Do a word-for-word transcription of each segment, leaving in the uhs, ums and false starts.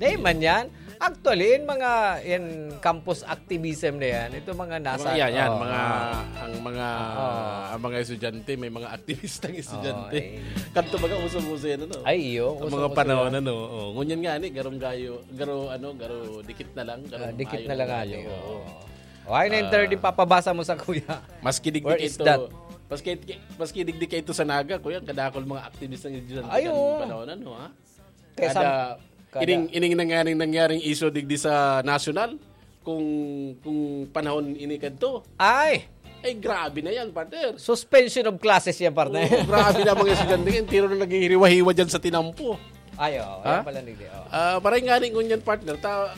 Di man yan. Actually, in mga in campus activism na yan, ito mga nasa... Mga yan, yan, oh, mga, ah, ang mga, oh, ang mga estudyante, may mga aktibistang estudyante. Oh, eh. Kanto baga, uso-uso yan, ano? Ay, iyo, ang mga uso-uso panahon, yan. Ano? Oh, ngunyan nga, ni, garong gayo, garo, ano, garo, dikit na lang, garo, ah, dikit na lang, gayo, ano, oo. Oh. Ay, nine thirty, ah, papabasa mo sa kuya. Maski digdi ka ito, maski, maski digdi ka ito sa Naga, kuya, kadakol mga aktibistang estudyante. Ay, oo. Kanto panahon, ano, ha? Kaya kada, sam-, kada ining, ining nangyaring, nangyaring issue digdi sa national, kung, kung panahon ini kadto. Ay! Ay, grabe na yan, partner. Suspension of classes yan, partner. Oo, grabe na mga estudyante yan. Tiro na naghihiriwa-hiwa dyan sa tinampo. Ay, oo. Ha? Yan pala, Nigdi, oo. Ah, maray nga rin ngunyan, partner. Ta-,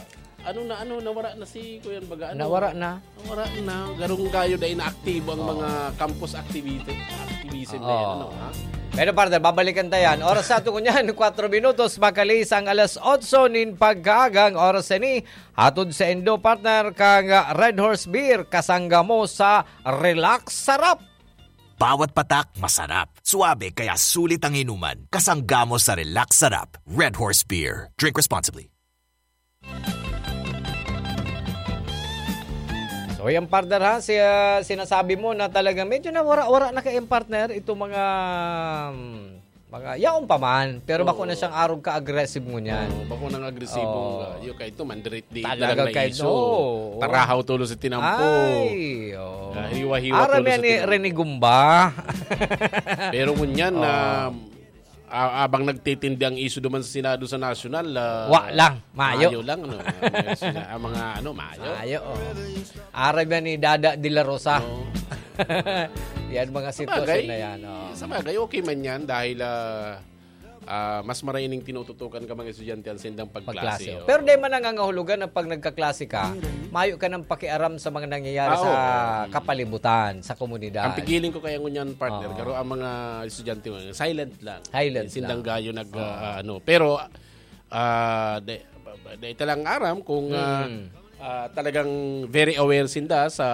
ano na, ano, nawara na si Kuya Baga, ano? Nawara na. Wala na. Garong gayo dahil naaktibo ang mga campus activity, activism na yan, ano, ha? Pero, partner, babalikan ta yan. Oras sa ato ngunyan, kwatro minutos, makaliis ang alas otso nin pagkaaga. Ang oras ini, hatod saindo, partner, kang Red Horse Beer, kasangga mo sa Relax Sarap. Bawat patak masarap, suabe kaya sulit ang inuman. Kasangga mo sa Relax Sarap, Red Horse Beer. Drink responsibly. So, yung partner, ha, si, ah, sinasabi mo na talagang medyo nawara-wara na kayong partner, itong mga, mm, mga, yaon pa man, pero bako na siyang arog ka-aggressive ngunyan. Oo, bako nang agresibong, ah, yung kaito, mandirit-dirit na lang na iso. Talaga kaito, oo. Tarahaw tulo sa tinampo. Ay, oo. Ah, hiwa-hiwa tulo sa tinampo. Aram yan ni Rene Gumba. Pero ngunyan, ah, ah, abang nagtitindi ang issue duman sa Senado, sa National, ah, wa lang, mayo. Mayo lang, ano, ah, may sina-, ah, mga, ano, mayo. Mayo, oh. Aram yan ni Dada de la Rosa. Oo. Yan mga sitwasyon na yan, oh. Sabagay, okay man yan dahil, ah, ah, mas maraining tinututukan ka mga estudyante ang sindang pagklase, pagklase, oh. Pero di man nangangahulugan na pag nagkaklase ka, mayo ka nang pakiaram sa mga nangyayari sa kapalibutan, sa komunidad. Ang pigiling ko kaya ngunyan, partner, garo ang mga estudyante mo, silent lang. Silent lang. Sindang gayo nag, ah, ano. Pero, ah, de, de, ita lang aram kung, ah, ah, talagang very aware sinda sa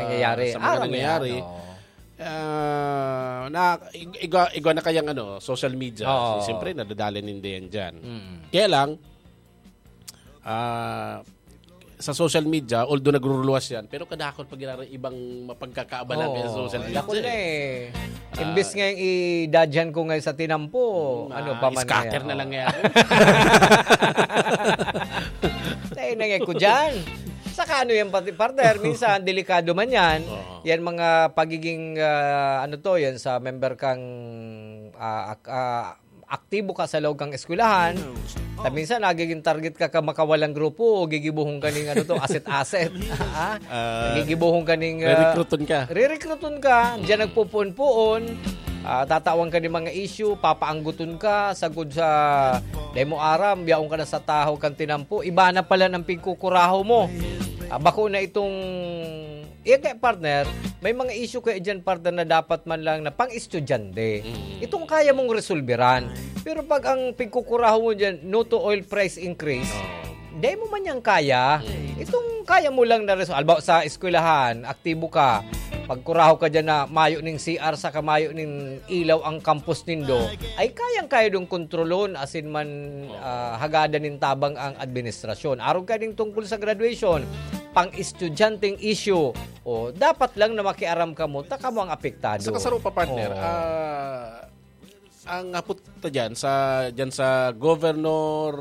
nangyayari. Sa mga nangyayari. Aram mo yan, oo. Ah, na, ig-, igwa, igwa na kayang, ano, social media. Oo. Siyempre, nadadali ninda yan dyan. Kaya lang, ah, sa social media, although nagruruluwas yan, pero kadakot pag ginarang ibang mapagkakaabalan kaya sa social media. Oo, dakul na eh. Ah. Imbis nga yung idadyan ko ngayon sa tinampo, ano pa man scatter na lang yan. Tayo na nga ko dyan. Saka ano yan, pati partner, minsan delikado man yan. Oo. Yan mga pagiging, ah, ano to, yan sa member kang, ah, ak-, ah, aktibo ka sa loob kang eskwelahan. Ta minsan, nagiging target ka, ka makawalang grupo o gigibuhon ka ning, ano to, asset-asset. Ah? Ah, gigibuhon ka ning, ah, rerekrutun ka. Rerekrutun ka, diyan nagpupuon-puon. Ah, tatawan ka ng mga issue, papaangguton ka, sagod sa demo aram, biyaon ka na sa tahaw kang tinampo. Iba na pala ng pigkukuraho mo. Ah, bako na itong Yan kaya, partner, may mga issue kaya dyan, partner, na dapat man lang na pang-estudyante. Mm. Itong kaya mong resolveran. Pero pag ang pigkukuraho mo dyan, no to oil price increase, Oo. di mo man yan kaya. Mm. Itong kaya mo lang na resolve. Halimbawa, sa eskwelahan, aktibo ka. Pagkuraho ka dyan na mayo ning C R saka mayo ning ilaw ang campus nindo, ay kayang-kaya dong kontrolon, asin man, Oo. ah, hagadan nin tabang ang administrasyon. Arog ka ding tungkol sa graduation, pang-estudyanteng issue, o dapat lang na makiaram kamo, ta kamo ang apektado. Sa kasaro pa, partner, Oo. ah, ang hapot ta dyan sa, dyan sa Governor,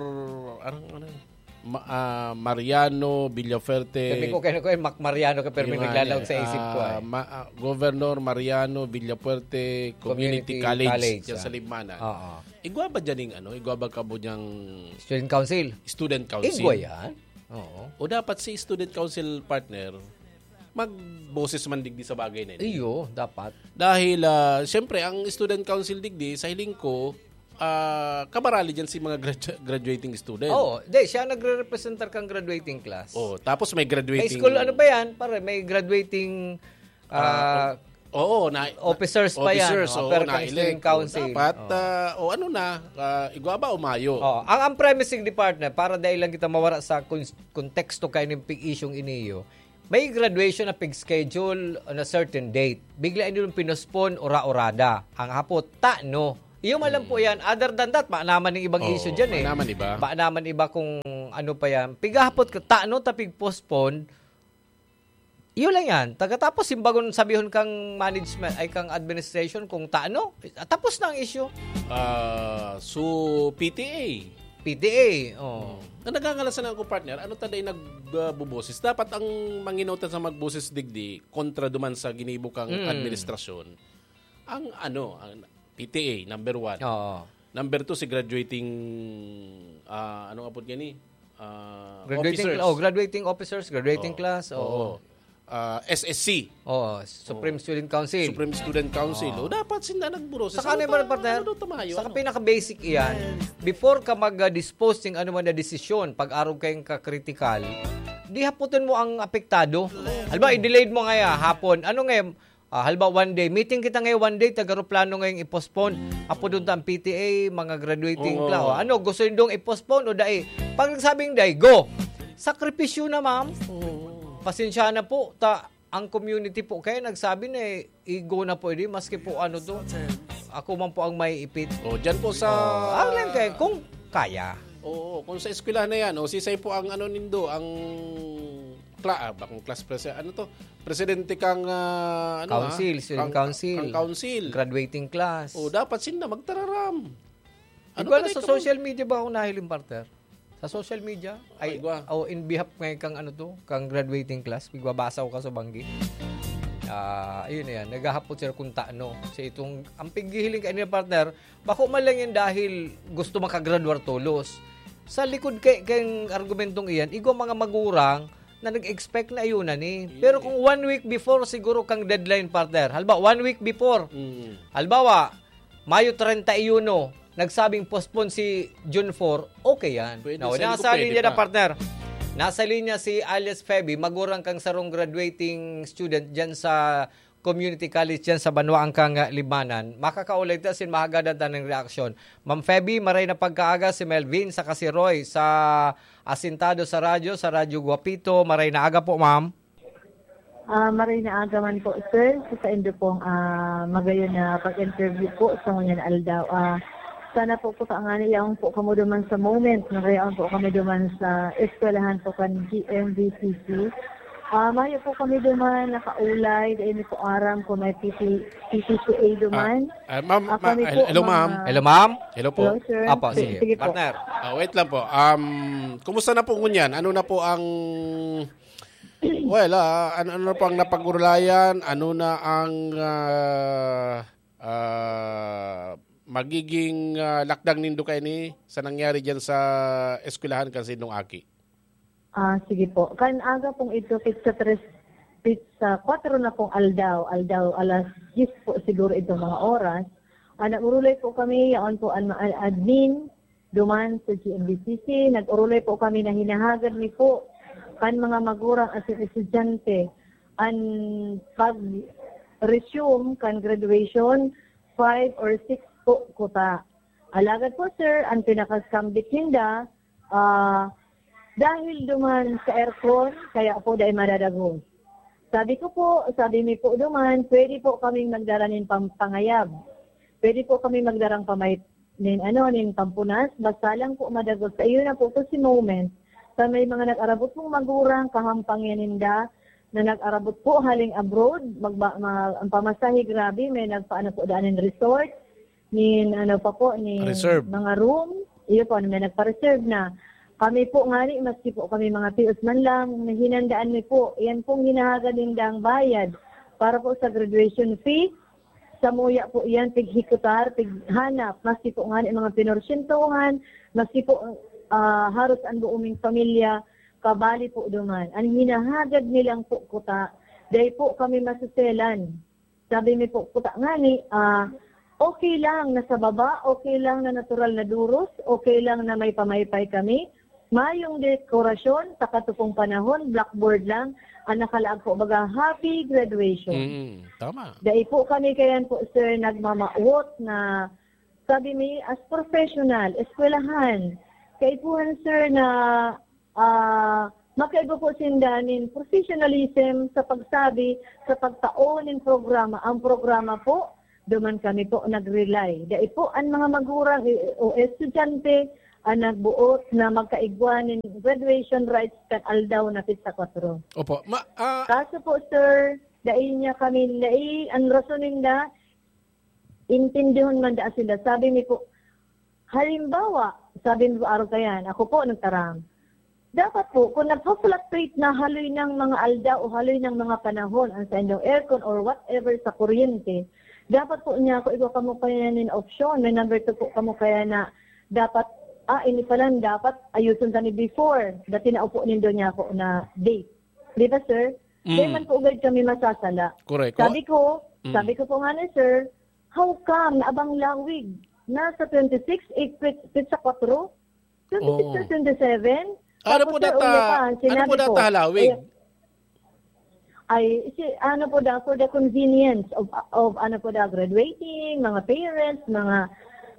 anong, ano yun? Ma-, ah, Mariano Villafuerte. Sabi ko kayo, kayo, Mac Mariano ka, pero may Yung, naglalaog ano, sa isip ko, ah, eh. Ma-, ah, Governor Mariano Villafuerte Community Community College, College, dyan ah. sa Libmanan. Oo. Igwa ba dyan yung, ano, igwa ba kamo dyang Student Council? Student Council? Igwa yan. Oo. O dapat si Student Council, partner, magboses man digdi sa bagay na yun. Iyo, dapat. Dahil, ah, siyempre, ang Student Council digdi, sa hiling ko, ah, kabarali dyan si mga gradu-, graduating student. Oo, di, siya nagre-representar kang graduating class. Oh, tapos may May graduating school, ano ba yan? Pare, may graduating, Ah, ah, oo, na, officers pa yan, officers, oh, oo, pwede kang na-elect, student council. Dapat, Oh. ah, o ano na, ah, igwa ba o mayo? Oh, ang, ang premising department, para dahil lang kita mawara sa kun-, konteksto kayo ng pig-isyong iniyo, may graduation na pig-schedule on a certain date. Bigla nilong pinospon, ora-orada. Ang hapot, ta, no? Iyo man lang po Hmm. yan. Other than that, ma naman yung ibang Oo, issue dyan eh. ma naman iba. Ma naman iba kung ano pa yan, pigahapot ka, tano ta pig-postpone, yun lang yan. Tagatapos, simbagon sabihon kang management, ay kang administration kung tano, tapos na ang issue. Ah, so, P T A. P T A, oh. Na nagangalasan ako, partner, ano ta dai nagbuboses? Dapat ang manginotan sa magboses digdi kontra duman sa ginibo kang Mm. administrasyon. Ang ano, ang P T A, number one. Oo. Number two, si graduating, ah, anong apod gani? Ah, Graduating, officers. Oh, graduating officers, graduating Oo. class, oo. Oo. Ah, S S C. Oo, Supreme Student Council. Supreme Student Council. Oo. O, dapat sila nagburo. Saka ano ba, partner? Ano daw tamayo? Saka Ano? pinaka-basic iyan, before ka mag-dispose ng ano man na desisyon, pag-arog kayong ka-critical, di haputin mo ang apektado. Halimbawa, i-delayed mo ngaya hapon. Ano ngayon? Ah, halimbawa, one day. Meeting kita ngayon one day, taga-aeroplano ngayong i-postpone. Apo doon ta ang P T A, mga graduating Oo. class. O, ano, gusto nyo doon i-postpone o dai? Pag nagsabing dai, go! Sakripisyo na, ma'am. Pasensya na po. Ta, ang community po kaya nagsabi na eh, igo na po, edi, maski po ano to. Ako man po ang may ipit. O, dyan po sa... Oh, ang lang kaya, kung kaya. Oo, kung sa eskwelahan na yan, o sisay po ang ano nindo, ang kla ah, bakong class president, ano to? Presidente kang ah, ano, Council, ah? Student Kang- Council. Kang council. Graduating class. O, dapat sinda magtararam. Hindi ko alam ba sa ito? Social media ba ako nahiling, partner? Sa social media? Ay, Ay, gwa. Oh, in behalf ngayon kang ano to, kang graduating class, pigbabasa ko ka sa banggi. Ah, ayun na yan. Naghahapot sila kung taano. Sa itong, ang pighihiling kanina, partner, bako man lang yan dahil gusto makagraduar tolos. Sa likod kay, kayong argumentong iyan, igwa mga magurang na nag-expect na ayun na ni. Pero kung one week before siguro kang deadline, partner. Halba, one week before. Mm. Halbawa, Mayo treinta y uno, nagsabing postpone si June four, okay yan. Pwede, Now, sa nasa pwede linya na, pa. Partner. Nasa linya si alias Feby, magurang kang sarong graduating student dyan sa community college dyan sa Banwa ang kang Libmanan. Makakaulay ta sin mahagadan ta ng reaksyon. Ma'am Feby, maray na pagkaaga si Melvin sa Kasiroy sa Asintado sa Radyo, sa Radyo Guapito. Maray na aga po, ma'am. Ah, maray na aga man po, sir, sa saindo pong ah, magayon na pag-interview po sa ngunyan aldaw. Ah, sana po po kaangani yaon po kamo duman sa moment na yaon po kami duman sa eskwelahan po kan G M V C C. Ah, mayo po kami duman nakaulay, dahil mi po aram kung may P T, P T C A duman. Ah, ma'am, Ah, ma- kami po, hello, ma'am. mga- Hello, ma'am? Hello po. Hello, sir. Apo, Sige, sige. sige po. Partner. Ah, wait lang po. Um, kumusta na po ngunyan? Ano na po ang... Well, ah, ano, ano po ang napag-urulayan? Ano na ang ah, ah, magiging ah, lakdang nindo kaini sa nangyari dyan sa eskwelahan kan sindong aki? Ah, sige po. Kan aga pong ito, pizza tres, pizza kwatro na pong aldaw, aldaw alas diyes po siguro itong mga oras. Ah, nag-urulay po kami, yaon po an, an admin, duman sa G M B C C. Nag-urulay po kami na hinahagad mi po kan mga magurang asin estudyante an pag-resume kan graduation five or six po kuta. Alagad po, sir, ang pinakasambit ninda, ah, dahil duman sa aircon, kaya po dai madadagos. Sabi ko po, sabi mi po duman, pwede po kaming magdara nin pam- pangayab. Pwede po kami magdarang pamay nin ano, nin pampunas, basta lang po madagos. Sa iyo na po to si moment. Sa may mga nag-arabot pong magurang, kahampang yan ninda, na nag-arabot po haling abroad, magba, ma, ang pamasahe grabe, may nagpaano po daan nin resort, nin ano pa po, nin Reserve. mga room, iyo po, may nagpa-reserve na. Kami po ngani, maski po kami mga tios man lang, hinandaan mi po. Yan pong hinahagad nindang bayad para po sa graduation fee. Samuya po iyan, pighikutar, pighanap, maski po ngani mga pinorsyentohan, maski po ah, haros an buong ming pamilya, kabali po duman. An hinahagad nilang po kuta, dai po kami masuselan. Sabi mi po, kuta ngani, ah, okay lang na sa baba, okay lang na natural na duros, okay lang na may pamaypay kami, mayong dekorasyon, sa katupong panahon, blackboard lang, ang nakalaag po, baga, happy graduation. Mm, tama. Dai po kami kayan po, sir, nagmamawot na, sabi mi, as professional, eskwelahan. Kaipuhan, sir, na ah, makaigo po sinda nin professionalism sa pagsabi, sa pagtao nin programa. Ang programa po, duman kami po nag-rely. Dai po ang mga magurang i- o estudyante ang nagbuot na magkaigwa nin graduation rites kan aldaw na petsa kwatro. Opo. Ma, ah, Kaso po, sir, dai niya kami, dai, ang rason ninda, intindihon man da sila. Sabi mi po, halimbawa, sabi mi po, araw kayan, ako po nagtaram. Dapat po, kung nagpa-fluctuate na haloy ng mga aldaw o haloy ng mga panahon, ang sa indong aircon or whatever sa kuryente, dapat po niya, kung igwa kamo kaya nin opsyon, may number two po kamo kaya na dapat, ah, ini pala, dapat ayuson tani before, dati na upo nindo niya ako na date. Di ba, sir? Mm. Di man po agad kami masasala. Correct. Sabi ko, Mm. sabi ko po nga ni sir, "How come na abang lawig? Nasa twenty-six, eh, pit-, pit sa kwatro? Twenty-six Oo. or twenty-seven?" Ano Tapos, po sir, data, uya pa, ano sinabi po ko, data halawig? Ay, ay, si, ano po daw, for the convenience of, of ano po daw, graduating, mga parents, mga,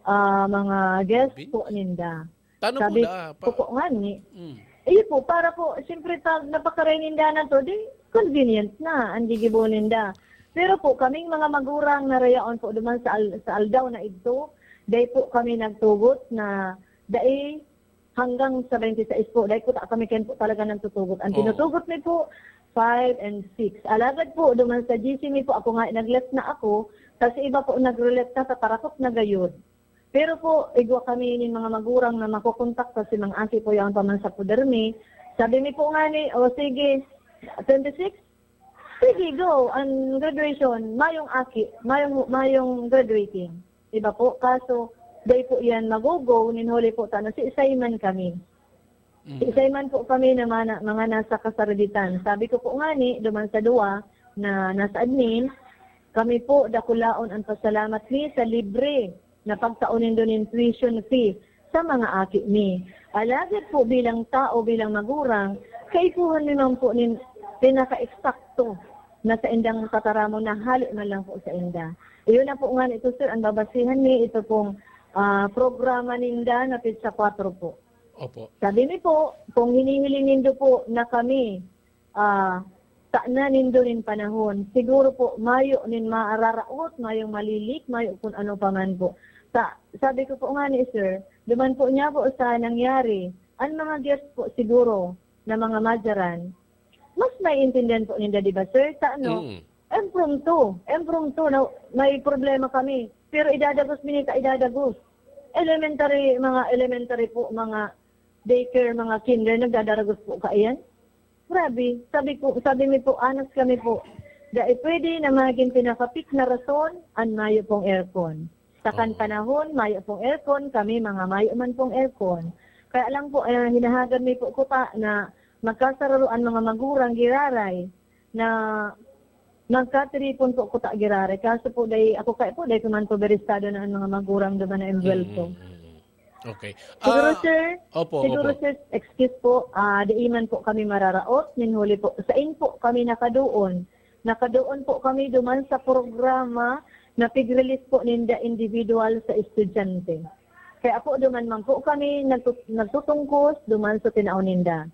ah, mga guests Convenience. po ninda. Tano po Sabi da, ko pa po nga ni, Mm. iyo po, para po, siyempre, pag napakaray ninda na to, di, convenient na, ang gigibo ninda. Pero po, kaming mga magurang na rayaon po duman sa al-, sa aldaw na idto, dai po kami nagtugot na dai hanggang sa twenty-six po. Dai po ta kami kayan po talaga nagtutugot. Ang Oo. tinutugot mi po, five and six. Alagad po, duman sa G C mi po, ako nga, nag-left na ako, tas iba po, nag-releft na sa Tarakot na gayod. Pero po, igwa kami nin mga magurang na makokontak ta si Mang Aki po yaon pa man sa poder mi. Sabi mi po nga ni, "O sige, twenty-six? Sige, go. Ang graduation, mayong aki, mayong, mayong graduating." Diba po? Kaso, dai po yan magogo, nin huli po ta na si Simon kami. Mhm. Isay man po kami na mana-, mga nasa kasaraditan. Sabi ko po ngani, duman sa duwa na nasa admin, kami po dakulaon an pasalamat mi sa libre na pagtao nindo nin tuition fee sa mga aki mi. Alagad po bilang tao, bilang magurang, kaipuhan mi man po nin pinaka-eksakto na saindang tataramon na hale man lang po sainda. Iyon na po ngani ito, sir, ang babasihan mi, ito pong, ah, programa ninda na petsa kwatro po. Opo. Sabi mi po, kung hinihiling nindo po na kami, ah, tanan nindo nin panahon, siguro po mayo nin mararaot, mayong malilik, mayo kun ano pa man po. Sa-, sabi ko po ngani, sir, duman po niya po sa nangyari, ang mga guest po siguro na mga madyaran, mas maiintindihan po ninda, di ba, sir? Sa ano, Mm. impromptu, impromptu na may problema kami. Pero idadagos mi nin ta idadagos. Elementary, mga elementary po, mga daycare, mga kinder, nagdadaragos po kaiyan. Grabe. Sabi ko, sabi mi po, honest kami po, dai pwede na magin pinakapik na rason an mayo pong aircon. Sa kan Oo. panahon, mayo pong aircon, kami mga mayo man pong aircon. Kaya lang po, eh, hinahagad mi po kuta na magkasararo an mga magurang giraray na magkatiripon po kuta giraray. Kaso po, dai, ako kaya po, dai ko man po beristado na ang mga magurang duman na envuelto. Mm, mm, mm. Okay. Siguro, Ah, sir, opo, siguro, opo. sir, excuse po, ah, dai man po kami mararaot, nin huli po, sain po kami nakadoon. Nakadoon po kami duman sa programa na pig-release po ninda individual sa estudyante. Kaya po, duman man po kami nagtut-, nagtutungkos duman sa tinao ninda.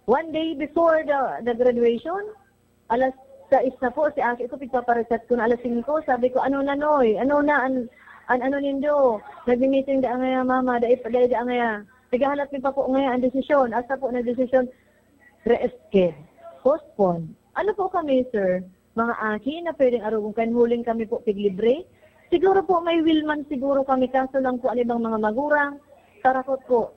One day before the, the graduation, alas sais na po, si aki ko, pigpaparachat ko na alas singko. Sabi ko, "Ano na, Noy? Ano na an, an ano nindo? Nagmi-meeting da ngaya, mama, dai pa, dai da ngaya." Naghahanap mi pa po ngaya ang desisyon. Asta po na desisyon, resched, postpone. Ano po kami, sir? Mga aki na pwedeng arogon kan huling kami po piglibre? Siguro po may will man siguro kami, kaso lang po ang ibang mga magurang, tarakot po.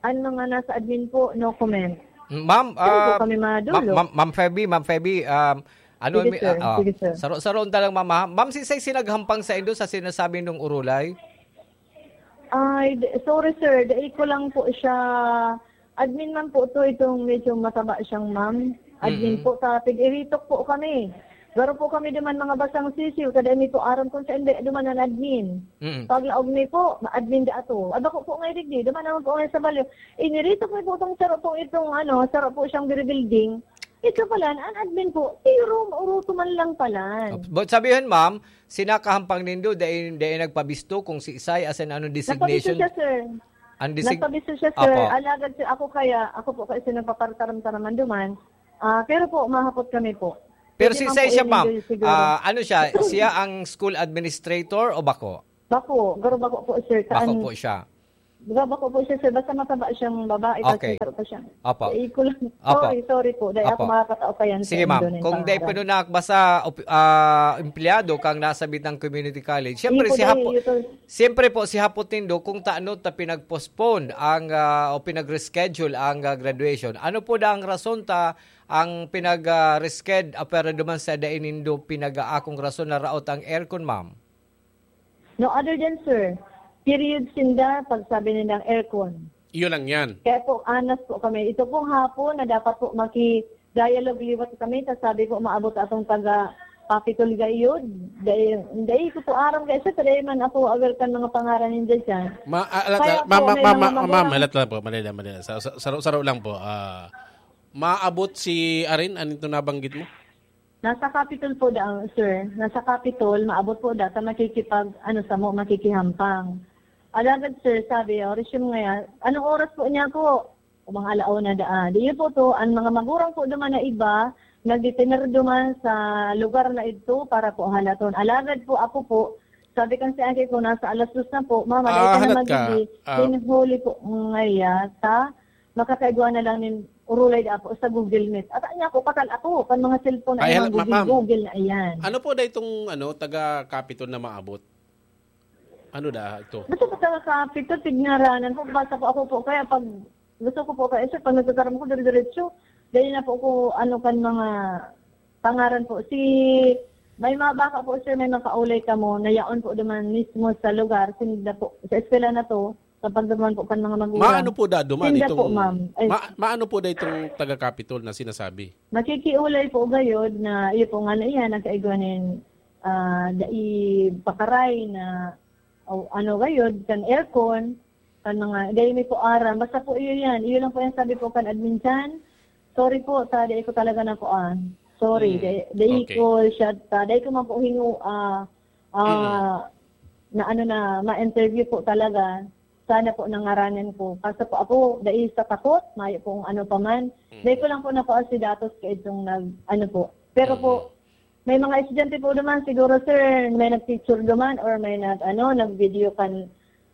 Ang mga nasa admin po, no comment. Ma'am, Sino po ah, kami madulog? Ma-, Ma'am, Ma'am Feby, Ma'am Feby, um, ano Sige, mi-, sir. ah, ah, Sige, sir. saro-, saroon ta lang, Ma'am, ha? Ma'am, si Say sinaghampang sa indo sa sinasabi nung urulay? Ay, d-, sorry, sir. Dai ko lang po siya, admin man po to, itong medyo mataba siyang ma'am. Admin Mm-mm. po, ta pig-iritok po kami. Garo po kami duman mga basang sisiw, ta dai mi po aram kung saan di-, duman an admin. Mm. Paglaog mi po, ma-admin da ato. Aba ko po ngay digdi, duman naman po ngay sa balyo. Iniritok mi po itong saro po, itong ano, saro po siyang biribuilding. Ito pala, an admin po, pero mauruto man lang pala. But sabihon, ma'am, sinakahampang nindo, dai, dai nagpabisto kung si Isay, asin anong Nagpabisto designation? siya, sir. Ang desig-, Nagpabisto siya, sir. Opo. Alagad, sir, ako kaya, ako po kasi nagpapartaram-taraman duman. Ah, pero po, mahapot kami po. Pero Pwede si man Isay po siya, yun, ma'am. Siguro. Ah, ano siya? Siya ang school administrator o bako? Bako, garo bako po, sir. Bako Saan? po siya. Baba ko po siya, sir. Basta mataba siyang babae, tapos Okay. May taro pa siya. Apo. Eh, ko lang. Apo. Sorry, sorry po. Dahil ako Apo. Makakatao pa yan sa Sige, ma'am. Indonesia. Kung dahil Aray. Pinunak, basta op- ah, empleyado kang nasa Bitang Community College, Hindi siyempre po si dahil Hapo, ito. Siyempre po si Hapo Tindo kung taano ta pinag-postpone ang ah, o pinag-reschedule ang ah, graduation. Ano po da ang rason ta ang pinag-resched ah, pero duman sa dai nindo pinag-aakong rason na raot ang aircon, ma'am? No other than, sir, period sinda, pagsabi nilang aircon. Iyo lang yan. Kaya po, anas po kami. Ito pong hapon na dapat po maki-dialogue liwat kami, ta sabi po, maabot atong taga Capitol gayod. Dahil, dahil ko po aram kaya, sir, dahil man ako aware kan mga pangaran ninyo dyan. Ma, ah, alat, Kaya ah, po, ma'am, may ma'am, mga ma'am, ma'am, magulang alat lang po, madali lang, madali lang. Sa, sa, saro-saro lang po. Ah, maabot si Arin, ano itong nabanggit mo? Nasa Capitol po daang, sir. Nasa Capitol, maabot po da ta makikipag, ano, samo, makikihampang. Alagad, sir, sabi, o, resume ngayon, anong oras po niya po? O, mga alauna daa. Di po to, ang mga magurang po duman na iba, nagditener duman sa lugar na ito para po halaton. Alagad po, ako po, sabi kan si Aki ko, nasa alas dos na po, mama, Ah, dahil ka na halat ka. Magiging, Ah. Then huli po, ngaya, ta, makakaigwa na lang nin urulay da po sa Google Meet. At niya ako, patal ako, kan mga cellphone Ay, ay hala, mga ma-, Google, ma'am. Google na iyan. Ano po da itong, ano, taga Capitol na maabot? Ano da ito? Basta po taga Capitol, tigngaranan po, basta po ako po, kaya pag gusto ko po, kaya sir, pag nagkakaroon ko, dire-diretso, dali na po ako, ano, kan mga pangaran po. Si, may mga baka po, sir, may makaulay kamo, na yaon po duman mismo sa lugar, sinda po, sa eskwela na to, kapag duman po kan mga magulang. Maano po da duman Sinda po, itong, ma'am. Ay. Ma-, maano po da itong taga-Capitol na sinasabi? Makikiulay po gayod na, iyo po nga na iyan, nagkaigwa nin, ah, dai pakaray na, o, ano gayod, kan aircon, kan mga, dai mi po aram. Basta po iyo yan. Iyo lang po yung sabi po kan admin dyan. Sorry po, ta, dai ko talaga na po, ah. Sorry, Mm, dai, dai okay. ko siya, ta, dai ko man po hingu, ah, ah, Mm. na ano na, ma-interview po talaga. Sana po nangaranan ko. Kaso po ako, dai sa takot, mayo pong ano pa man. Mm. Dai ko lang po nakuha si datos kaidtong nag, ano po. Pero po, Mm. may mga estudyante po naman, siguro, sir, may nag-picture naman or may nag, ano, nag-video kan,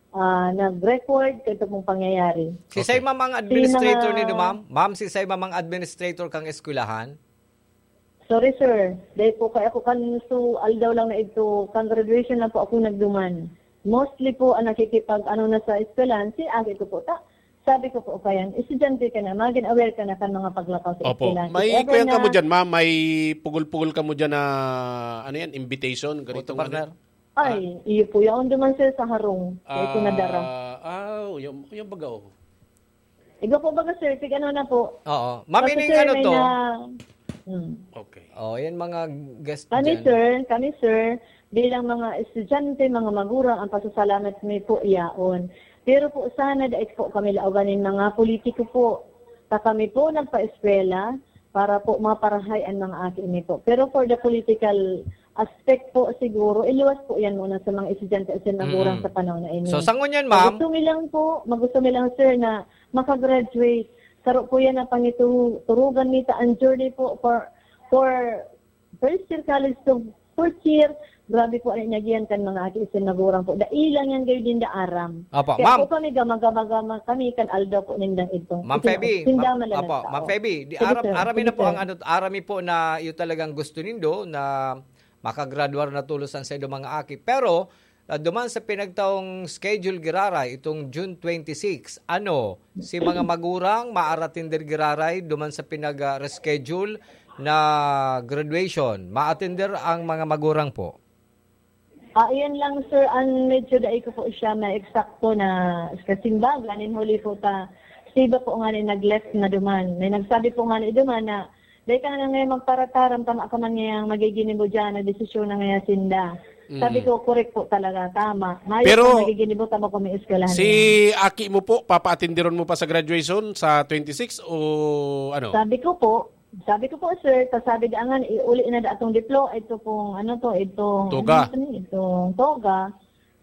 ah, nag-record kaito pong pangyayari. Si Okay. Say ma'am ang Si administrator mga nindo, ma'am? Ma'am, si Say ma'am ang administrator kang eskwelahan? Sorry, sir. Dahil po kaya ako kan su aldaw lang na ito, kan graduation lang po ako nagduman. Mostly po ang nakikipag-ano na sa eskwelahan, si ate ko po. Ta, sabi ko po, "Kayan, estudyante ka na, magin aware ka na kan mga paglakaw sa Opo. eskwelahan." May If ever kuyan ka mo na dyan, ma'am? May pugol-pugol ka mo dyan na, ano yan, invitation? Ganitong Photo partner? ano? Ay, Ah. iyo po. Yaon duman, sir, sa harong. Kaya ko nadara. Ah, ah, yung, yung baga, oh. Iba po baga, sir, tig ano na po. Oo. Ma'am, Kasi, ining sir, ano may to? na, hmm. Okay. Oh, yan mga guest Kami, dyan. sir, kami, sir, bilang mga estudyante, mga magurang, ang pasasalamat mi po yaon. Pero po, sana dai po kami laogan nin mga politiko po. Ta kami po nagpa-eskwela para po maparahay ang mga aki mi po. Pero for the political aspect po, siguro, iluwas po yan muna sa mga estudyante at sa mga Mm. gurang sa panahon na ini. So, sa ngunyan, ma'am? Gusto mi lang po, magusto mi lang, sir, na makagraduate. Saro po yan ang pangiturugan nita, ang journey po for, for first year college to fourth year. Grabe po ang inagihan kan mga aki isin nagurang po. Dai lang yan gayo din da aram. Opo, Kaya ma'am. po kami, gama-gama-gama kami kan aldaw po nindang ito. Ma'am Isin-, Feby, sinda ma'am, malalagtao. opo, Ma'am Feby, di Sige, aram, sir. arami Sige, na po sir. ang ano, arami po na iyo talagang gusto nindo na makagraduar na tulos ang saindo mga aki. Pero, ah, duman sa pinagtaong schedule giraray, itong June twenty-six, ano, si mga magurang maaratinder giraray duman sa pinag, ah, reschedule na graduation? Maatinder ang mga magurang po? Ah, iyan lang, sir, ang medyo dai ko po siya na eksakto na kasimbagan, in huli po ta, si iba po nga ni nag-left na duman. May nagsabi po nga ni duman na, "Dai ka na ngayon magparataram, tama ka man ngayang magiginibo dyan, na desisyon na ngayon sinda." Mm. Sabi ko, "Correct po talaga, tama." Mayo Pero, po nagiginibo, tama po may eskwelahan si yan. Aki mo po, papaatindiron mo pa sa graduation sa twenty-six o ano? Sabi ko po, sabi ko po, sir, ta sabi da ngan, iuli na da atong diplo, ito pong, ano to, itong, Toga. ano to, itong toga.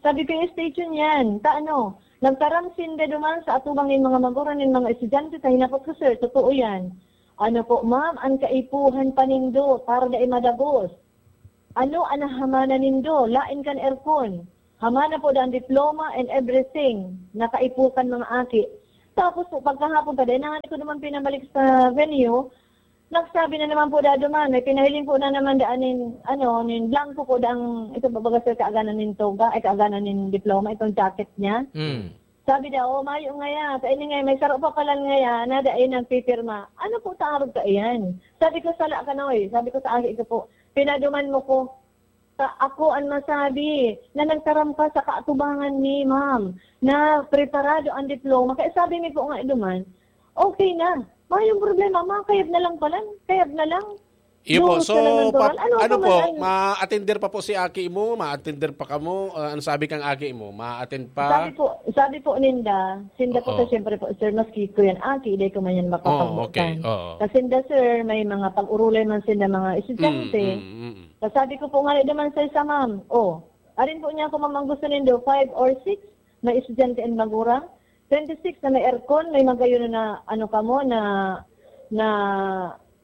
Sabi ko, "Yung station yan, ta ano, nagtaram sinda duman sa atubang nin mga magurang nin mga estudyante, ta hinapot ko, sir, totoo yan." "Ano po, ma'am, ang kaipuhan pa nindo, para dai madagos. Ano ang nahamana nindo? Lain kan aircon." Hamana po daan diploma and everything. Nakaipukan mga aki. Tapos po, pagkahapon pa, dahil nangani ko naman pinabalik sa venue, nagsabi na naman po dado man, may pinahiling po na naman daan nin, ano, nin blanco po dang, ito babaga sir, kaaganan nin toga, ay kaaganan nin diploma, itong jacket niya. Mm. Sabi daw, "Oh, mayo nga yan. Sa ini nga, may saro pa palan nga yan, na dai nagpipirma." Ano po ta arog ka iyan? Sabi ko, "Sala ka na, oy." Sabi ko sa aki ko po, "Pinaduman mo ko. Sa ako an masabi, na nagtaram ka sa kaatubangan ni ma'am, na preparado ang diploma." Kaya sabi mi po nga duman, "Okay na. Mayong problema, ma. Kayab na lang palan. Kayab na lang." Iyo po. Duros So, na lang ang pa, tural. Ano ano pa po, man ang ma-attender pa po si aki mo? Ma-attender pa kamo? Ah, ano sabi kang aki mo? Ma-attend pa? Sabi po, sabi po ninda, sinda po Oo. sa siyempre po, sir, maski ko yan, aki, di ko man yan Oo, okay. makapabutan. Oo. Kasi sinda, sir, may mga pag-urulay man sinda mga estudyante. Mm, mm, mm, mm. Tapos sabi ko po nga naman sa isa, ma'am, oh, arin po niya ako, ma'am, ang gusto nindo, five or six na estudyante and magurang, twenty-six na may aircon, may magayon na, ano kamo, na, na,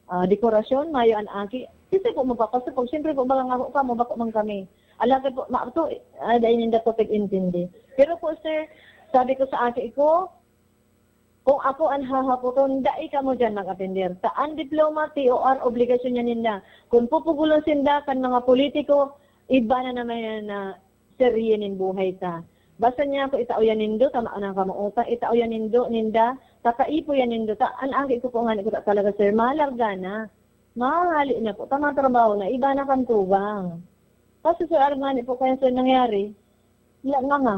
ah, dekorasyon, mayo an aki. Kasi po, magpapasok po, siyempre po, baka nga po kamo, bako man kami. Alagad po, ma-, to, ah, dahil hindi po pag-intindi. Pero po, sir, sabi ko sa aki ko, kung ako an hahapoton, dai kamo diyan mag-atender. Sa an diploma, T O R, obligasyon niya ninda. Kung pupugulon sinda kan mga politiko, iba na naman yan na serye nin buhay ta. Basta niya ako itao yan nindo, tama na ang kamautan, itao yan nindo, ninda, kakaipo yan nindo. Ta, an aki ko po nga, ko ta talaga, sir, malarga na. Mahali na po, tama trabaho na, iba na kan tugang. Kasi, sir, armani po kaya, sir, nangyari, la, nga nga,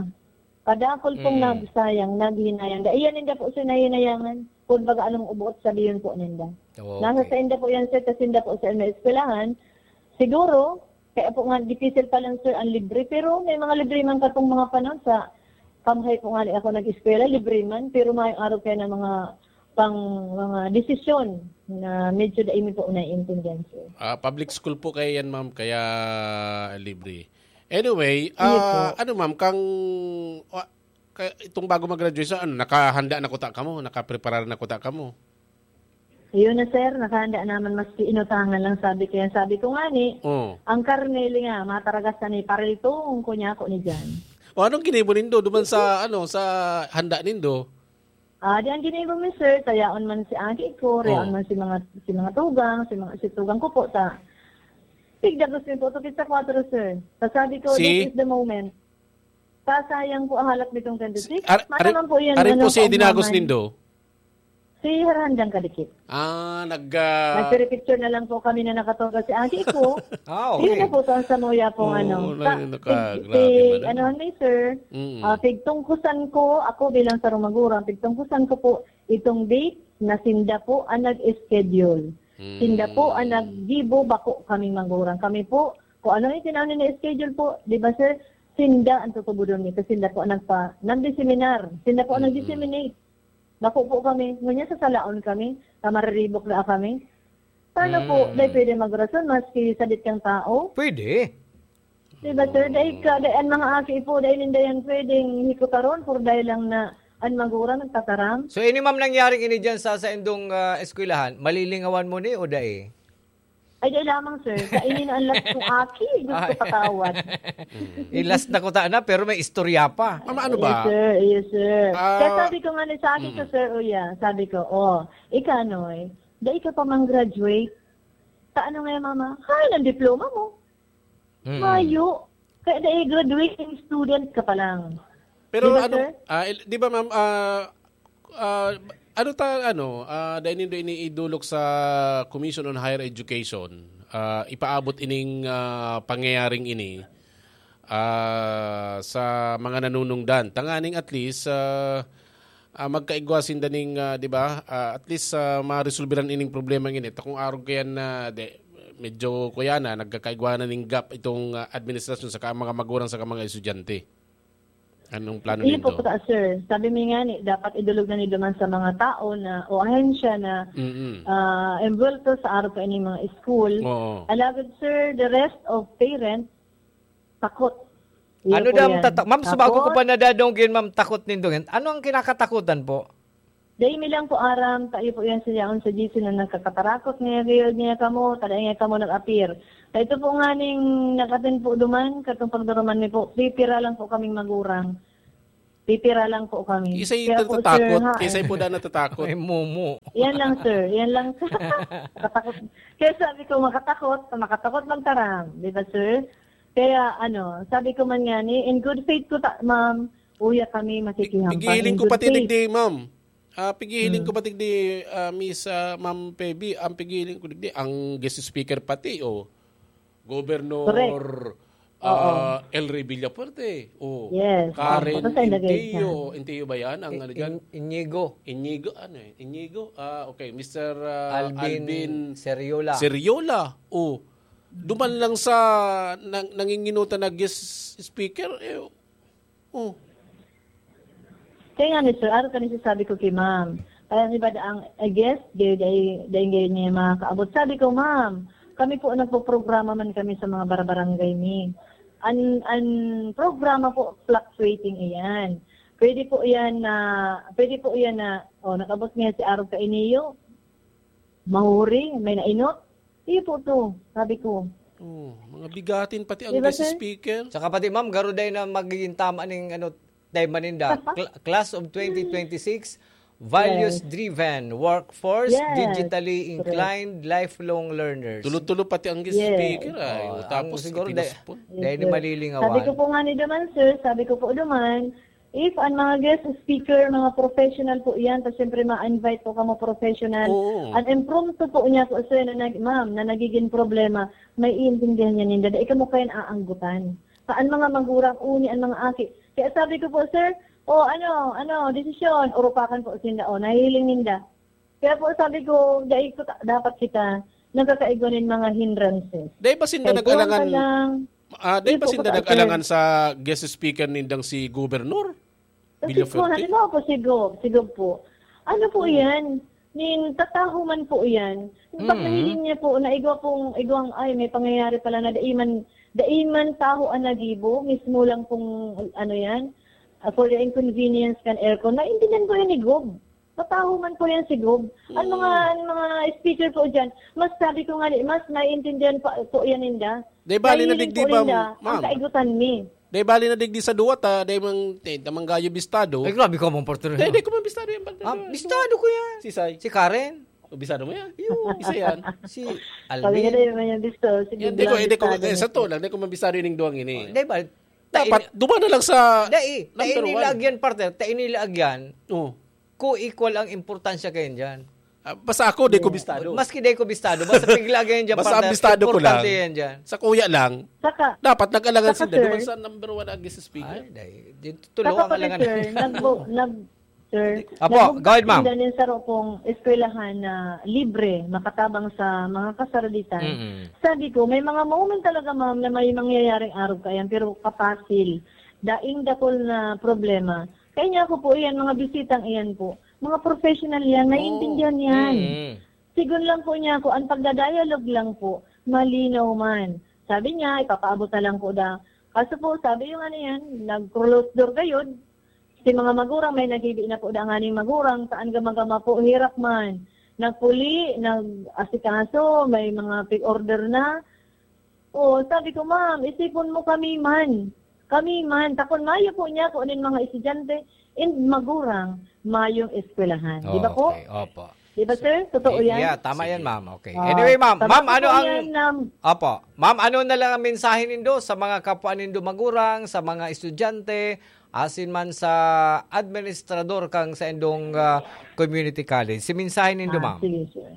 kadakol pong Mm. nagsayang, naghinayang. Dai yan ninda po, sir, nahinayangan. Kung baga anong ubuot, sabihin po ninda. Okay. Nasa sa inda po yan, sir, kasi inda po, sir, may eskwelahan. Siguro, kaya po nga, difícil pa lang, sir, ang libre. Pero may mga libre man katong mga panahon sa kamhay po nga ni ako nag-eskwela, libre man. Pero may araw kaya na mga pang mga desisyon na medyo dai mi po naiintindihan, sir. Ah, public school po kayo yan, ma'am, kaya libre. Anyway, Sige po. ah, ano, ma'am, kang, wa-, ka-, itong bago mag-graduation, ano, nakahanda na kuta kamo? Nakapreparar na kuta kamo? Ayun na, sir, nakahanda naman, maski inutangan lang, sabi ko yan. Sabi ko nga ni, Oh. ang karne, linga, mataragas na ni, pariltong ko niya ako ni Jan. O, anong ginibo nindo duman sa, ano, sa handa nindo? Ah, di ang ginibo mi, sir, tayaon man si aki ko, reon Oh. man si mga, si mga tugang, si mga, si tugang ko po, ta. Tigdagos mi po, tukit sa kwatro, sir. Ta sabi ko, Si? "This is the moment." Ta sayang po ang halat nitong twenty-six. Ar-, Mata arin, man po yan, arin po ano, si dinagos kaugmaman. nindo? Si Harhandang Kadikit. Ah, nag, ah, Nagpiripicture na lang po kami na nakatoga si aki ko. Ah, Yun okay. na po, sa Samoya po, Oo, ano. na, Ta-, naka-, tig-, grabe tig-, man, ano. ano, ni sir, Mm. ah, pigtungkusan ko, ako bilang sarong magurang, pigtungkusan ko po itong date na sinda po ang nag-schedule. Mm. Sinda po ang naggibo, bako kaming magurang. Kami po, kung ano yung tinawag na schedule po, di ba, sir? Sinda ang tutubodon nito. Sinda po ang nagpa-, nagdiseminar. Sinda po ang Mm. nagdisseminate. Bako po kami. Ngunyan sasalaon kami. Ta mariribok na kami. Paano po? Mm. Dai pwede magrason maski sadit kang tao? Pwede. Di ba, sir? Dai ka, dai ang mga aki po, dai ninda yan pwedeng hikutaron, por dai lang na an magurang nagtataram. So, ini, ma'am, nangyaring ini dyan sa, sa indong, ah, eskwelahan, malilingawan mo ni o dai? Ay, dai lamang, sir. Sa ini na ang last kong aki, gusto Ay. patawad. Ilas na ko ta na, pero may istorya pa. Ma'am, ano Yes, ba? sir. Yes, sir. Ah, Kaya sabi ko nga ni sa aki ko, mm. sir, o yan, sabi ko, "Oh, ikaw, Noy, dai ka pa mang graduate. Sa ano nga, mama? Hay, ang diploma mo." Mm. Mayo. Kaya dai graduating student ka pa lang. Pero Di ba, ano, sir? ah, il-, di ba, ma'am, ah, ah, ano ta, ano, ah, dai nindo iniidulok sa Commission on Higher Education, ah, ipaabot ining, ah, pangyayaring ini, ah, sa mga nanunungdan? Tanganing at least, ah, ah, magkaigwa sinda ning, ah, di ba? Ah, at least, ah, maresolbiran ining problema ngini. Ta kung arog kayan na, de, medyo kuya na, nagkakaigwa na ning gap itong, ah, administrasyon saka mga magurang saka mga estudyante. Anong plano Iyo po, nindo? Kuta, sir. Sabi mi nga ni, dapat idulog na ni duman sa mga tao na, o ahensya na, Mm-mm. ah, envuelto sa arog kaining mga school. Oo. Alagad, sir, the rest of parents, takot. Iyo Ano po daw ang yan. tata-, ma'am, sa bago ko Takot. pa nadadonggan, ma'am, takot nindo yan. Ano ang kinakatakutan po? Dai mi lang po aram, kayo po yan sa yaon sa G C na nagkakatarakot niya, gayod niya kamo, tada niya kamo nag-appear. Sa ito po nga ning nag-attend po duman, katong pagduruman mi po, pipira lang po kaming magurang. Pipira lang po kami. Isay Kaya po, natatakot, sir, ha, isay po na natatakot. Ay, momo. Yan lang, sir. Yan lang. Nakatakot. Kaya sabi ko, makatakot, makatakot magtaram. Di ba, sir? Kaya, ano, sabi ko man nga ni, in good faith ko, ta, ma'am, uya kami, makikihampang. Pigiling In ko good pati faith. digdi, ma'am. Ah, pigiling Hmm. ko pati digdi, ah, Miss, ah, Ma'am Peby, ang pigiling ko digdi, ang guest speaker pati, oh. Governor, Correct. ah, Oo. El Rey Villafuerte. Oh. Yes. Karen Tapos ay lagay Intio. siya. Intio ba yan? Ang I-, ano dyan? In-, Inigo. Inigo, ano eh? Inigo? Ah, okay. Mister, ah, Alvin Alvin Seriola. Seriola. Oh. Duman lang sa nang-, nanginginutan na guest speaker, eh, oh. Kaya nga ni sir, araw kani sasabi ko ki ma'am. Kaya ni ba ang, I guess, dai, dai, dai, dai niya makakaabot. Sabi ko, "Ma'am, kami po nagpoprograma man kami sa mga barabarangay ni. An, an programa po fluctuating iyan. Pwede po iyan na, pwede po iyan na, oh, nakabot niya si Arog Kainiyo. Mahuri, may nainot. Iyo po to," sabi ko. Oh, mga bigatin pati ang Di ba, guest sir? speaker. Saka pati, ma'am, garo dai na magiging tama ning, ano, time maninda. Cl-, class of twenty twenty-six, values-driven, Yes. workforce, Yes. digitally Correct. inclined, lifelong learners. Tulo-tulo pati ang guest Yes. speaker, ay. Oh, O, ang tapos siguro dai, ipinospon. Yes, dai ni sir. malilingawan. Sabi ko po nga ni duman, sir, sabi ko po duman, if ang mga guest speaker, mga professional po yan, ta siyempre ma-invite po kamo professional. Oo. Ang impromptu po niya po, sir, na nag-, ma'am, na nagiging problema, may iintindihan niya ninda. Dai kamo kayan aanggutan. Sa an mga magurang uni an mga aki. Kaya sabi ko po, sir, "O, ano, ano, desisyon?" Urupakan po sinda, o, nahihiling ninda. Kaya po sabi ko, dai ko ta-, dapat kita nagkakaigwa nin mga hindrances. Dai ba sinda Kaya nag-alangan, kuwang ka lang, ah, dai di ba po sinda ko ta-, nag-alangan sir. sa guest speaker nindang si Gobernador? Kasi Villaferte? po, halimbawa po, si Gob, si Gob po. Ano po Hmm. yan? Nin, tataho man po yan. Pag Mm. nahiling niya po, na igwa pong, igwang, "Ay, may pangyayari pala na dai man, dai man taho an nagibo, mismo lang pong, ano yan, ah, for the inconvenience kan aircon." Naintindihan ko yan ni Gob. Tataho man po yan si Gob. Ang mga, Mm. ang mga speaker po dyan, mas sabi ko nga ni, mas naiintindihan pa po yan ninda. Dai bali na Nahiling digdi po ba, ninda ang ma'am? kaigutan mi. Dai bali na digdi sa duwa ta, dai mang, dai ta manggayo bistado. Ay, grabe ka, Ma'am Partner. Dai, dai ko man bistado yan, partner. Ah, bistado ko yan. Si Sai? Si Karen. O, bistado mo yan? Yo. Isa yan. Si Kami Alvin. nga dai man yan bistado. Sige, Yan, dai ko, lang dai ko, bistado eh, na. sa to lang, dai ko man bistado yung duwang ini. Oh, dai ba? Dapat, Ta-, duma na lang sa dai, number tainilag one. yan, partner. Tainilag yan. Oh. Co-equal ang importansya kayan dyan. Ah, basta ako, di ko Oo. bistado. Maski di ko bistado, basta pigla kayan dyan, Basta ang partner, bistado ko importante lang, yan dyan. sa kuya lang, Saka, dapat nag-alangan saka, sinda duman sir, sa number one na guest speaker. Ay, dai. Di, tulo saka ang pati, alangan. sir, nagbo-, nag-, sir, Apo, nagbo-, go ahead, ma'am. sinda nin saro pong eskwelahan na libre, makatabang sa mga kasaraditan. Mm-mm. Sabi ko, may mga moment talaga, ma'am, na may mangyayaring arog kayan, pero kapasil. Daing dakul na problema. Kaya niya ako po iyan, mga bisitang iyan po. Mga professional yan, Oo. naiintindihan yan. Mm. Sigon lang po niya ako, ang pagdadialog lang po, malinaw man. Sabi niya, ipapaabot na lang po daw. Kaso po, sabi yung ano yan, nag-close door gayod. Si mga magurang, may naghibi na po da nganing magurang, saan gama-gama po, herak man. Nagpuli, nag-asikaso, may mga pig-order na. Oo, sabi ko, "Ma'am, isipon mo kami man. Kami man." Ta kun mayo po niya, kung ano yung mga estudyante, and magurang, mayong eskwelahan. Di ba po? Okay, opo. Di ba, sir? Totoo Y-, yan? yeah, tama Sige. yan, ma'am. Okay. Ah, Anyway, ma'am, ma'am, ano ang yan, ma'am. Opo. Ma'am, ano na lang ang mensahe nindo sa mga kapwa nindo magurang, sa mga estudyante, asin man sa administrador kang sa indong, ah, community college? Si mensahe nindo, Ah, ma'am. sige, sir.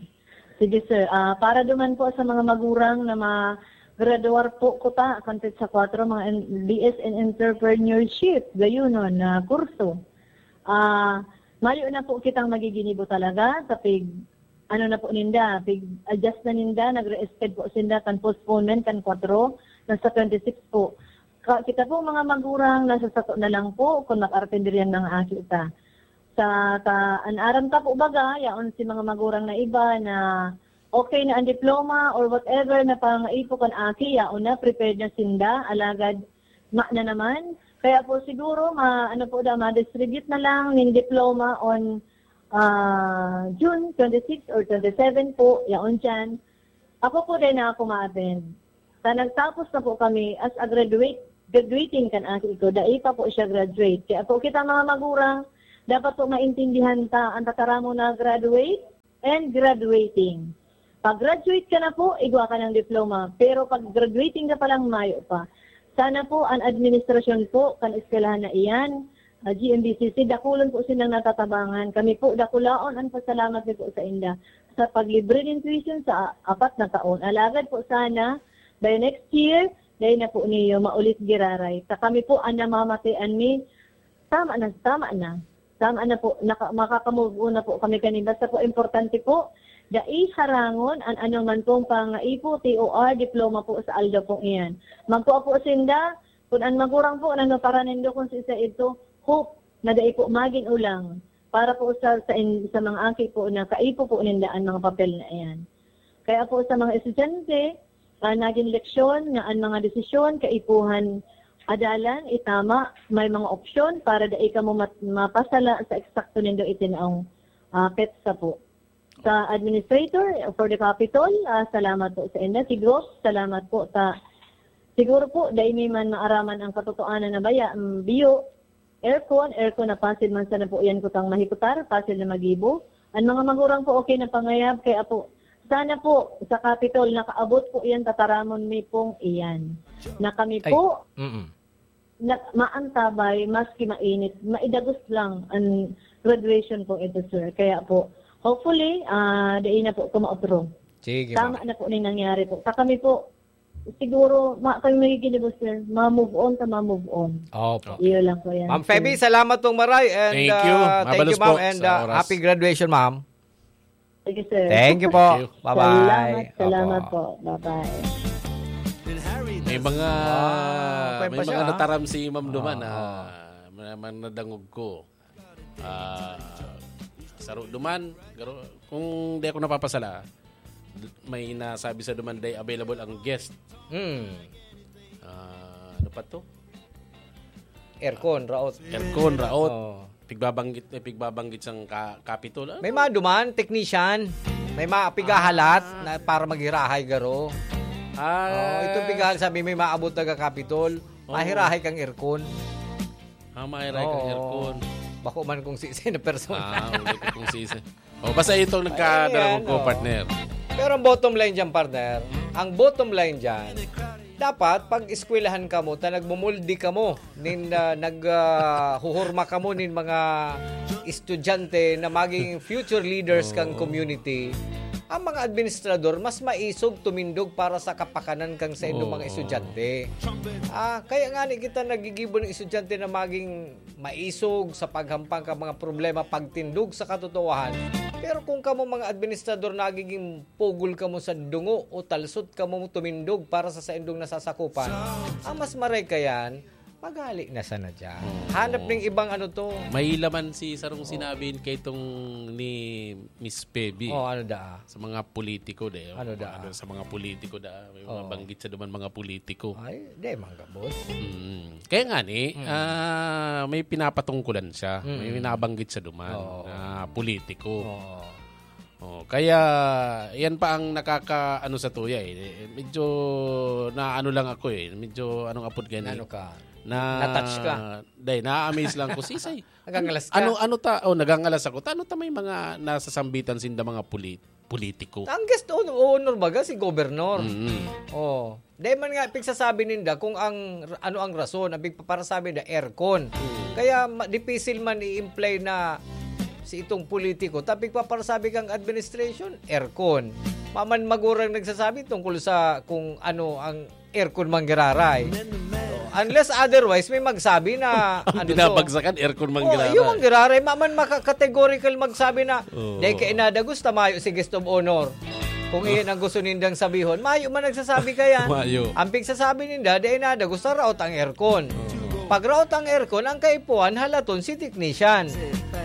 Sige, sir. Ah, para duman po sa mga magurang na ma-graduar po kuta, kan petsa kwatro, mga en-, B S in Entrepreneurship, gayunon na kurso. Ah, mayo na po kitang magiginibo talaga sa pig-, ano na po ninda, pig-adjust na ninda, nagre-expect po sinda kan postponement kan kwatro, nasa twenty-six po. Ka-, kita po mga magurang, nasa sato na lang po kung mag-artenderian mga aki ta. Sa, ta, an aram ta po baga, yaon si mga magurang na iba na okay na ang diploma or whatever na pangaipo kan aki, yaon na, prepared na sinda, alagad ma na naman. Kaya po siguro, ma, ano po daw, ma-distribute na lang nin diploma on Ah, June twenty-six or twenty-seven po, yaon dyan. Ako po din na ako ma-attend. Sa nagtapos na po kami as a graduate, graduating kan aki ko, dai pa po siya graduate. Kaya po kita mga magurang, dapat po maintindihan ta ang tataramon na graduate and graduating. Pag graduate ka na po, igwa ka ng diploma. Pero pag graduating ka pa lang, mayo pa. Sana po ang administrasyon po kan eskwelahan na iyan, ah, G M B C C, dakulon po silang natatabangan. Kami po, dakulaon ang pasalamat mi po sa inda sa paglibre nin tuition sa apat na taon. Alagad po sana, by next year, dai na po niyo maulit giraray. Sa kami po, ang namamatian mi, tama na, tama na. Tama na po, naka, makaka-move on na po kami kanin. Basta po, importante po, dai harangon an anoman pong pangaipo, T O R, diploma po sa aldaw pong iyan. Magkua po sinda, kun an magurang po, nano para nindo kung sa isa ito, hope na dai po magin ulang para po sa, sa, in, sa mga aki po na kaipo po ninda ang mga papel na iyan. Kaya po sa mga estudyante, ah, nagin leksyon nga an mga desisyon kaipuhan adalan, itama, may mga opsyon para dai kamo mat-, mapasala sa eksakto nindo itinaong, ah, petsa po. Sa administrator for the Capitol, ah, salamat po sa inda. Siguro, salamat po ta. Siguro po, dai mi man maaraman ang katotohanan na baya, mm, biyo, aircon, aircon na pasil man sana po yan kutang mahikutar, pasil na magibo. Ang mga magurang po, okay na pangayab, kaya po, sana po, sa Capitol, nakaabot po yan, tataramon mi pong iyan. Na kami Ay, po, mm. na, maantabay, maski mainit, maidagos lang ang graduation po ito, sir. Kaya po, hopefully, ah, dai na po kumaotro. Sige, Tama ma'am. na po ni nangyari po. Sa kami po, siguro, ma, kami magiging, sir, ma-move on sa ma-move on. Opo. Iyo lang po yan, Ma'am Feby, sir. salamat pong maray. And, Thank you. ah, thank Mabalos you, ma'am. po And, sa ah, oras. happy graduation, ma'am. Sige, sir. Thank you po. Thank you. Bye-bye. Salamat, salamat Opo. po. Bye-bye. May mga, Ah, may pwede pa mga siya, ah. nataram si Ma'am Duman, Oo. ah, may, may nadangog ko. Ah, saro duman, garo-, kung di ako napapasala, may nasabi sa duman, day available ang guest. Hmm. Ah, ano pa to? Aircon, raot. Aircon, raot. Oo. Pigbabanggit, eh, pigbabanggit sang ka-, Capitol. Ah, May mga duman, technician. May mga pigahalat Ah. na para maghirahay garo. Ah. Oo, itong pigahalat, sabi, may maabot na ka Capitol. Oo. Mahirahay kang aircon. Ah, mahirahay kang Oo. aircon. Bako man kung sisay na persona. Ah, uli ko kung sisay. Oh, basta itong nagkadala Ayan, ko, oh. partner. Pero ang bottom line dyan, partner, ang bottom line dyan, dapat pag-eskwelahan kamo, ta nagmumuldi kamo, nin, ah, nag, ah, huhurma kamo nin mga estudyante na maging future leaders kang Oo. community, ang mga administrador, mas maisog tumindog para sa kapakanan kang saindong mga Oo. estudyante. Ah, kaya nga ni kita nagigibo ng estudyante na maging maisog sa paghampang ka mga problema, pagtindog sa katotohanan. Pero kung kamo mga administrador nagiging pugol kamo sa dungo o talsot kamo tumindog para sa saindong nasasakupan, ang mas maray kayan, maghali na sana dyan. Oo. Hanap ning ibang ano to. May laman si sarong sinabi kay tong ni Miss Pebi. Oh, ano da? Sa mga politiko, de. Ano da? Ano, sa mga politiko, da. May mga Oo. banggit sa duman mga politiko. Ay, di, mga gabos. Mm. Kaya nga ni, Mm. ah, may pinapatungkulan siya. Mm. May binabanggit sa duman Oo. na politiko. Oo. Oh, kaya yan pa ang nakaka-, ano sa tuya eh. Medyo na ano lang ako eh. Medyo anong apod gani? Ano ka? Na Na-touch ka? Day, na-amaze lang ko. Sisay. Nagangalas ka? Ano, ano ta? Oh, nagangalas ako. Tano ta may mga nasasambitan sinda mga pulit-, politiko? Ang guest of honor baga si Governor. Mm. Oh. Dahil man nga, pigsasabi ninda kung ang, ano ang rason, ang pigpaparasabi na aircon. Mm. Kaya ma-, dipisil man i-imply na si itong politiko, ta pigpaparasabi kang administration, aircon. Maman magurang nagsasabi tungkol sa kung ano ang aircon manggiraray. Unless otherwise, may magsabi na, Kung ano to? binabagsakan, aircon Oh, manggiraray. yung manggiraray, maman maka-, categorical magsabi na, Oo. "Dahil kay inadagos, tamayo si guest of honor." Kung Oh. iyan ang gusto nindang sabihon, mayo man nagsasabi kaya. Mayo. Ang pigsasabi ninda, "Dahil inadagos, sa raot ang aircon." Oo. Pag raot ang aircon, ang kaipuhan, halaton si technician.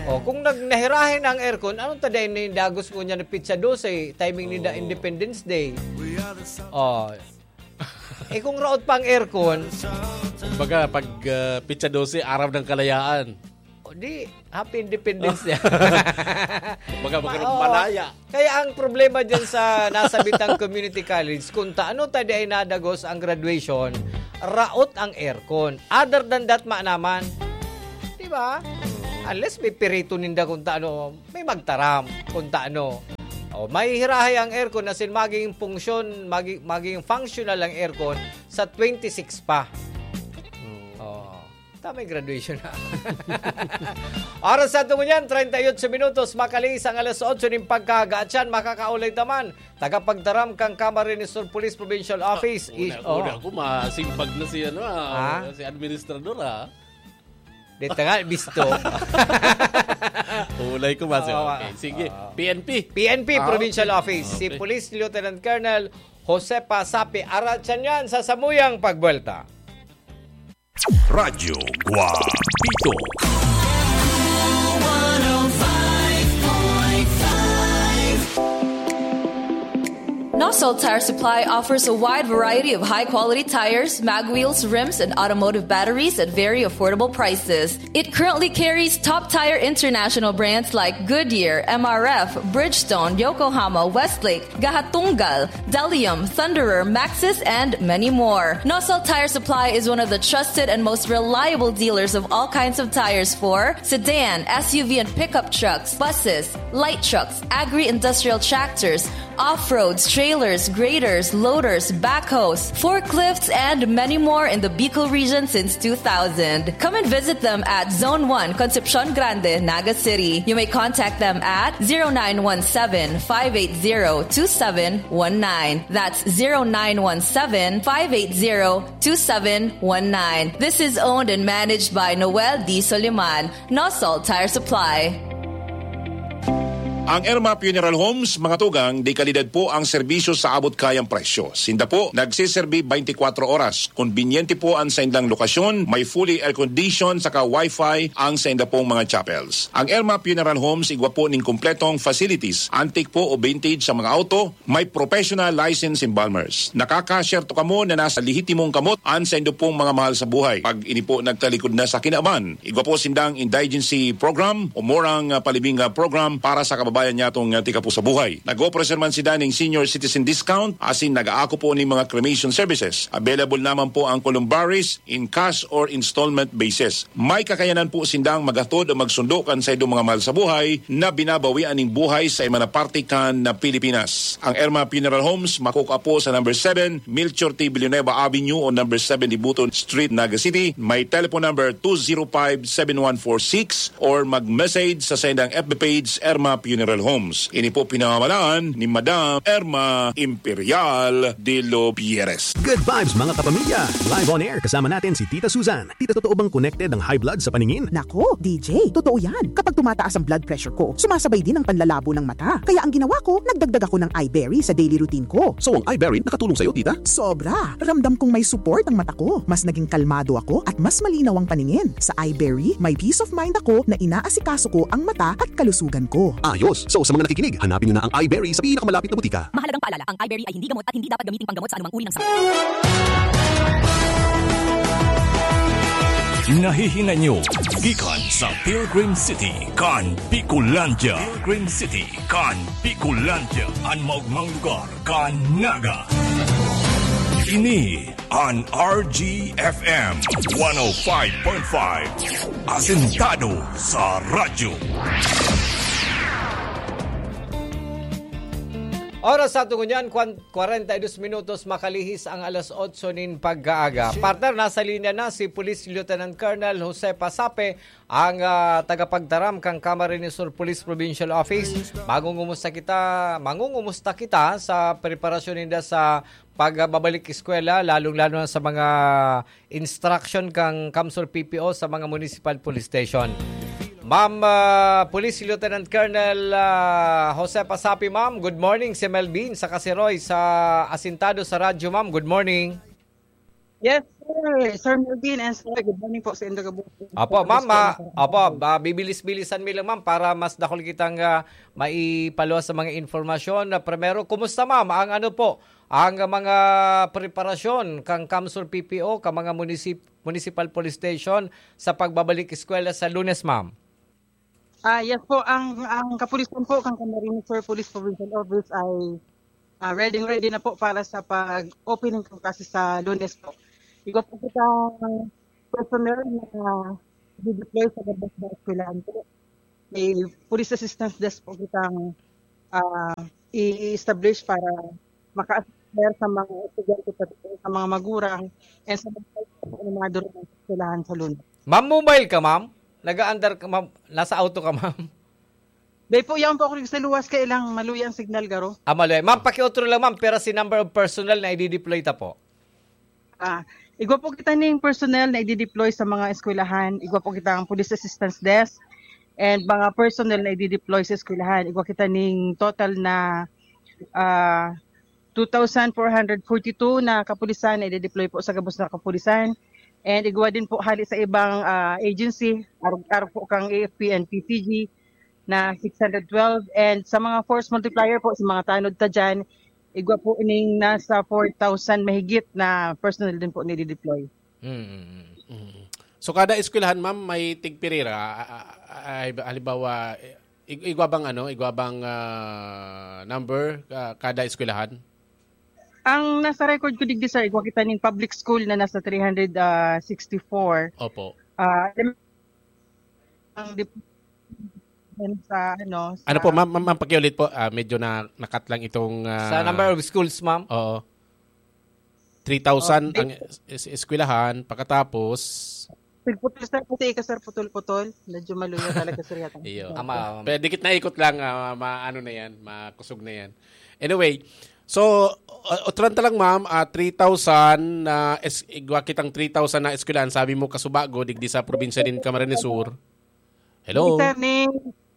O, kung nag-, nahirahin ang aircon, anong ta dahil nindagos mo niya na pizza dose, timing ninda Oo. Independence Day? Oh. Eh, kung raot pa ang aircon, Kumbaga, pag, ah, pitsa dose, araw ng kalayaan. Di, happy independence niya. Baga magkaroon Ma-, oh. malaya. Kaya ang problema dyan sa nasa Bitang Community College, kung taano ta di ay nadagos ang graduation, raot ang aircon. Other than that, ma naman. Di ba? Unless may pirito ninda kung taano, may magtaram kung taano. O, mahihirahay ang aircon, as in, magiging function, magi-, magiging functional ang aircon sa twenty-six pa. Oo. Tamay graduation na. Oras sa tungo niyan, treinta y ocho minutos, makalihis ang alas otso nin pagkaaga. At siyan, makakaulay taman, tagapagtaram kan Camarines Sur Police Provincial Office. Una, Is-, oh. una ko, masimbag na si, ano, ah, Ha? si administrador, ah. Dito nga, bisto. Ulay ko ba siya? Oo, Okay, ah. sige. Oo. P N P. P N P Ah, Provincial okay. Office. Si Okay. Police Lieutenant Colonel Josepa Sapi. Aratsan yan sa samuyang pagbuelta. Radyo Guapito. Nosol Tire Supply offers a wide variety of high-quality tires, mag wheels, rims, and automotive batteries at very affordable prices. It currently carries top tire international brands like Goodyear, M R F, Bridgestone, Yokohama, Westlake, Gahatunggal, Delium, Thunderer, Maxxis, and many more. Nosol Tire Supply is one of the trusted and most reliable dealers of all kinds of tires for sedan, S U V, and pickup trucks, buses, light trucks, agri-industrial tractors, off-roads, trailers, graders, loaders, backhoes, forklifts, and many more in the Bicol region since two thousand. Come and visit them at Zone one, Concepcion Grande, Naga City. You may contact them at zero nine one seven, five eight zero, two seven one nine. That's zero nine one seven, five eight zero, two seven one nine. This is owned and managed by Noel D. Soliman, Nosol Tire Supply. Ang Irma Funeral Homes, mga tugang, de kalidad po ang serbisyo sa abot kayang presyo. Sinda po nagsiserbi twenty-four oras. Konbinyente po ang saindang lokasyon, may fully air-conditioned saka wifi ang sainda pong mga chapels. Ang Irma Funeral Homes igwa po ning kompletong facilities, antique po o vintage sa mga auto, may professional license embalmers. Nakaka-share to kamo na nasa lehitimong kamot ang saindo pong mga mahal sa buhay. Pag ini po nagtalikod na sa kinaban, igwa po sindang indigency program o murang, ah, palibing, ah, program para sa kababayan niya tong, ah, tika po sa buhay. Nag-operasyon man sila ning senior citizen discount, asin nag-aako po ning mga cremation services. Available naman po ang columbaries in cash or installment basis. May kakayanan po sindang maghatod o magsundo kan saindong mga mahal sa buhay na binabawian ning buhay sa iba na parte kan na Pilipinas. Ang Irma Funeral Homes, makukuha po sa number seven, Melchor T. Villanueva Avenue o number seven Dibuton Street, Naga City. May telephone number two zero five, seven one four six or mag-message sa saindang F B page, Irma Funeral Homes. Ini po pinamamalaan ni Madam Irma Imperial de los Pierres. Good vibes, mga kapamilya! Live on air, kasama natin si Tita Susan. Tita, totoo bang connected ang high blood sa paningin? Nako, D J, totoo yan. Kapag tumataas ang blood pressure ko, sumasabay din ang panlalabo ng mata. Kaya ang ginawa ko, nagdagdag ako ng Iberry sa daily routine ko. So, ang Iberry nakatulong sa'yo, tita? Sobra! Ramdam kong may support ang mata ko. Mas naging kalmado ako at mas malinaw ang paningin. Sa Iberry, may peace of mind ako na inaasikaso ko ang mata at kalusugan ko. Ayos! So, sa mga nakikinig, hanapin nyo na ang Iberry sa pinakamalapit na butika. Mahalagang paalala, ang Iberry ay hindi gamot at hindi dapat gamiting panggamot sa anumang uri ng sakit. Nahihinay nyo gikan sa Pilgrim City kan Bicolandia. Pilgrim City kan Bicolandia, an maogmang lugar kan Naga. Ini an R G F M one oh five point five, asentado sa radyo. Oras sa aton ngunyan, kwan-, kwarenta y dos minutos, makalihis ang alas otso nin pagkaaga. Partner, nasa linya na si Police Lieutenant Colonel Jose Pasape, ang, ah, tagapagtaram kan Camarines Sur Police Provincial Office. Mangungumusta kita, mangungumusta kita sa preparasyon ninda sa pagbabalik eskwela, lalong-lalo na sa mga instruction kan CamSur P P O sa mga municipal police station. Ma'am, ah, Police Lieutenant Colonel, ah, Jose Pasapi, ma'am, good morning. Si Melvin sa Kasiroy, sa asintado sa radyo, ma'am. Good morning. Yes, sir. Sir Melvin and sir, good morning po sa indo gabos. Apo, ma'am, ah, apo, ah, bibilis-bilisan mi lang, ma'am, para mas dakul kitang, ah, maipaluwas sa mga informasyon. Ah, primero, kumusta, ma'am, ang ano po, ang mga preparasyon kan CamSur P P O, kan mga munisip-, municipal police station sa pagbabalik eskwela sa Lunes, ma'am? Ah, yes po, ang, ang kapulisan po, kang Camarines Sur Police Provincial Office ay, ah, ready, ready na po para sa pag-opening ng klase sa Lunes po. Igwa po kita personnel na dideploy sa gabos na eskwelahan po. May police assistance desk po kitang, ah, i-establish para maka-assist sa mga estudyante, pati po sa mga magulang, and sa mga animado rin ng eskwelahan sa Lunes. Ma'am, mobile ka, ma'am? Nag-aandar ka, ma'am? Nasa auto ka, ma'am? Dahil po, yan po ako sa luwas, kailang maluya ang signal, garo. Ah, maluya. Ma'am, pakiutro lang, ma'am, pero si number of personnel na i-deploy ta po. Ah, igwa po kita ning personnel na i-deploy sa mga eskwelahan. Igwa po kita ang police assistance desk and mga personnel na i-deploy sa eskwelahan. Igwa kita ning total na, ah, two thousand four hundred forty-two na kapulisan na i-deploy po sa gabos na kapulisan. And igwa din po hali sa ibang, ah, agency, arog-arog po kang A F P and P C G na six hundred twelve. And sa mga force multiplier po, sa mga tanod ta dyan, igwa po ining nasa four thousand mahigit na personnel din po nidideploy. Mm, mm, mm. Mm. So, kada eskwelahan, ma'am, may tigpirira? A-, a-, a-, ay, halimbawa, ig-, igwa bang ano, igwa bang, ah, number, ah, kada eskwelahan? Ang nasa record ko digdi, sir, igwa kita ning public school na nasa three hundred sixty-four. Opo. Ah, ang dip-, sa ano, Ano sa po, ma'am, ma'am, ma'am, pakiulit po. Ah, medyo na, nakat lang itong, Sa ah, number of schools, ma'am? Oo. Three thousand Oh, ang es-, es-, eskwelahan, pagkatapos Putol-putol, sir, kasi ika, sir, putol-putol. Medyo maluya talaga, sir, yata. Iyo. Tama, ma'am. Pero dikit na ikot lang, ah, ma-, ano na yan, makusog na yan. Anyway, so, uh, utran ta lang, ma'am, ah, three thousand na es-, igwa kitang three thousand na eskwelahan. Sabi mo, kasubago, digdi sa probinsya nin Camarines Sur. Hello? Hindi, sir, ni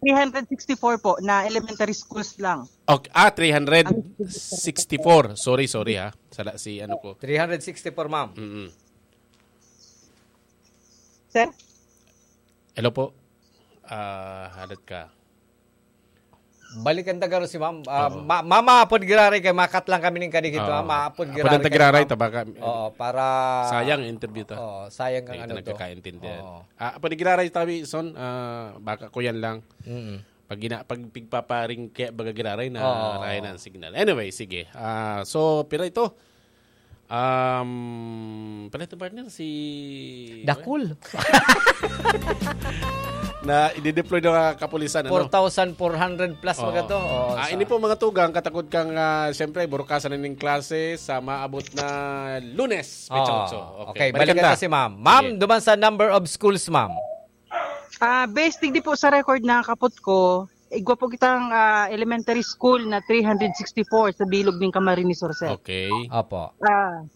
three hundred sixty-four po na elementary schools lang. Okay, ah, three hundred sixty-four. Sorry, sorry, ha. Sala si ano ko. Three hundred sixty-four, ma'am. Mm-mm. Sir? Hello po. Ah, halat ka. Balikan ta garo si ma'am. Ah, Oo. ma-, mama, apod giraray kay makat lang kami ning kadigito, Oo. ah, ma-, apod Apod giraray ang kay giraray, ma'am. Tabaka, Oo, para sayang interview ta. Oo, sayang kang Kaya ano ta to. nagkakaintindihan. Oo. Ah, apod giraray tabi, son, ah, baka ko yan lang. Mm. Pag gina-, pag pigpaparing kaya baga giraray na Oo. rahay na ang signal. Anyway, sige. Ah, so, pira ito? Um, pala ito, partner, si Dakul. Na i-deploy ng mga kapulisan, ano? Four thousand four hundred plus Oo. mga to. Oo, Ah, sa ini po, mga tugang, katakod kang, ah, siyempre, burukasan na ning klase sa maabot na Lunes, Oo. Petsa otso. Okay, Okay, balikan balikan ta. ta si ma'am. Ma'am, Sige. duman sa number of schools, ma'am. Ah, based digdi po sa record na kapot ko, igwa po kitang, ah, elementary school na three hundred sixty-four sa bilog ning Camarines Sur, sir. Okay. Opo. Ah,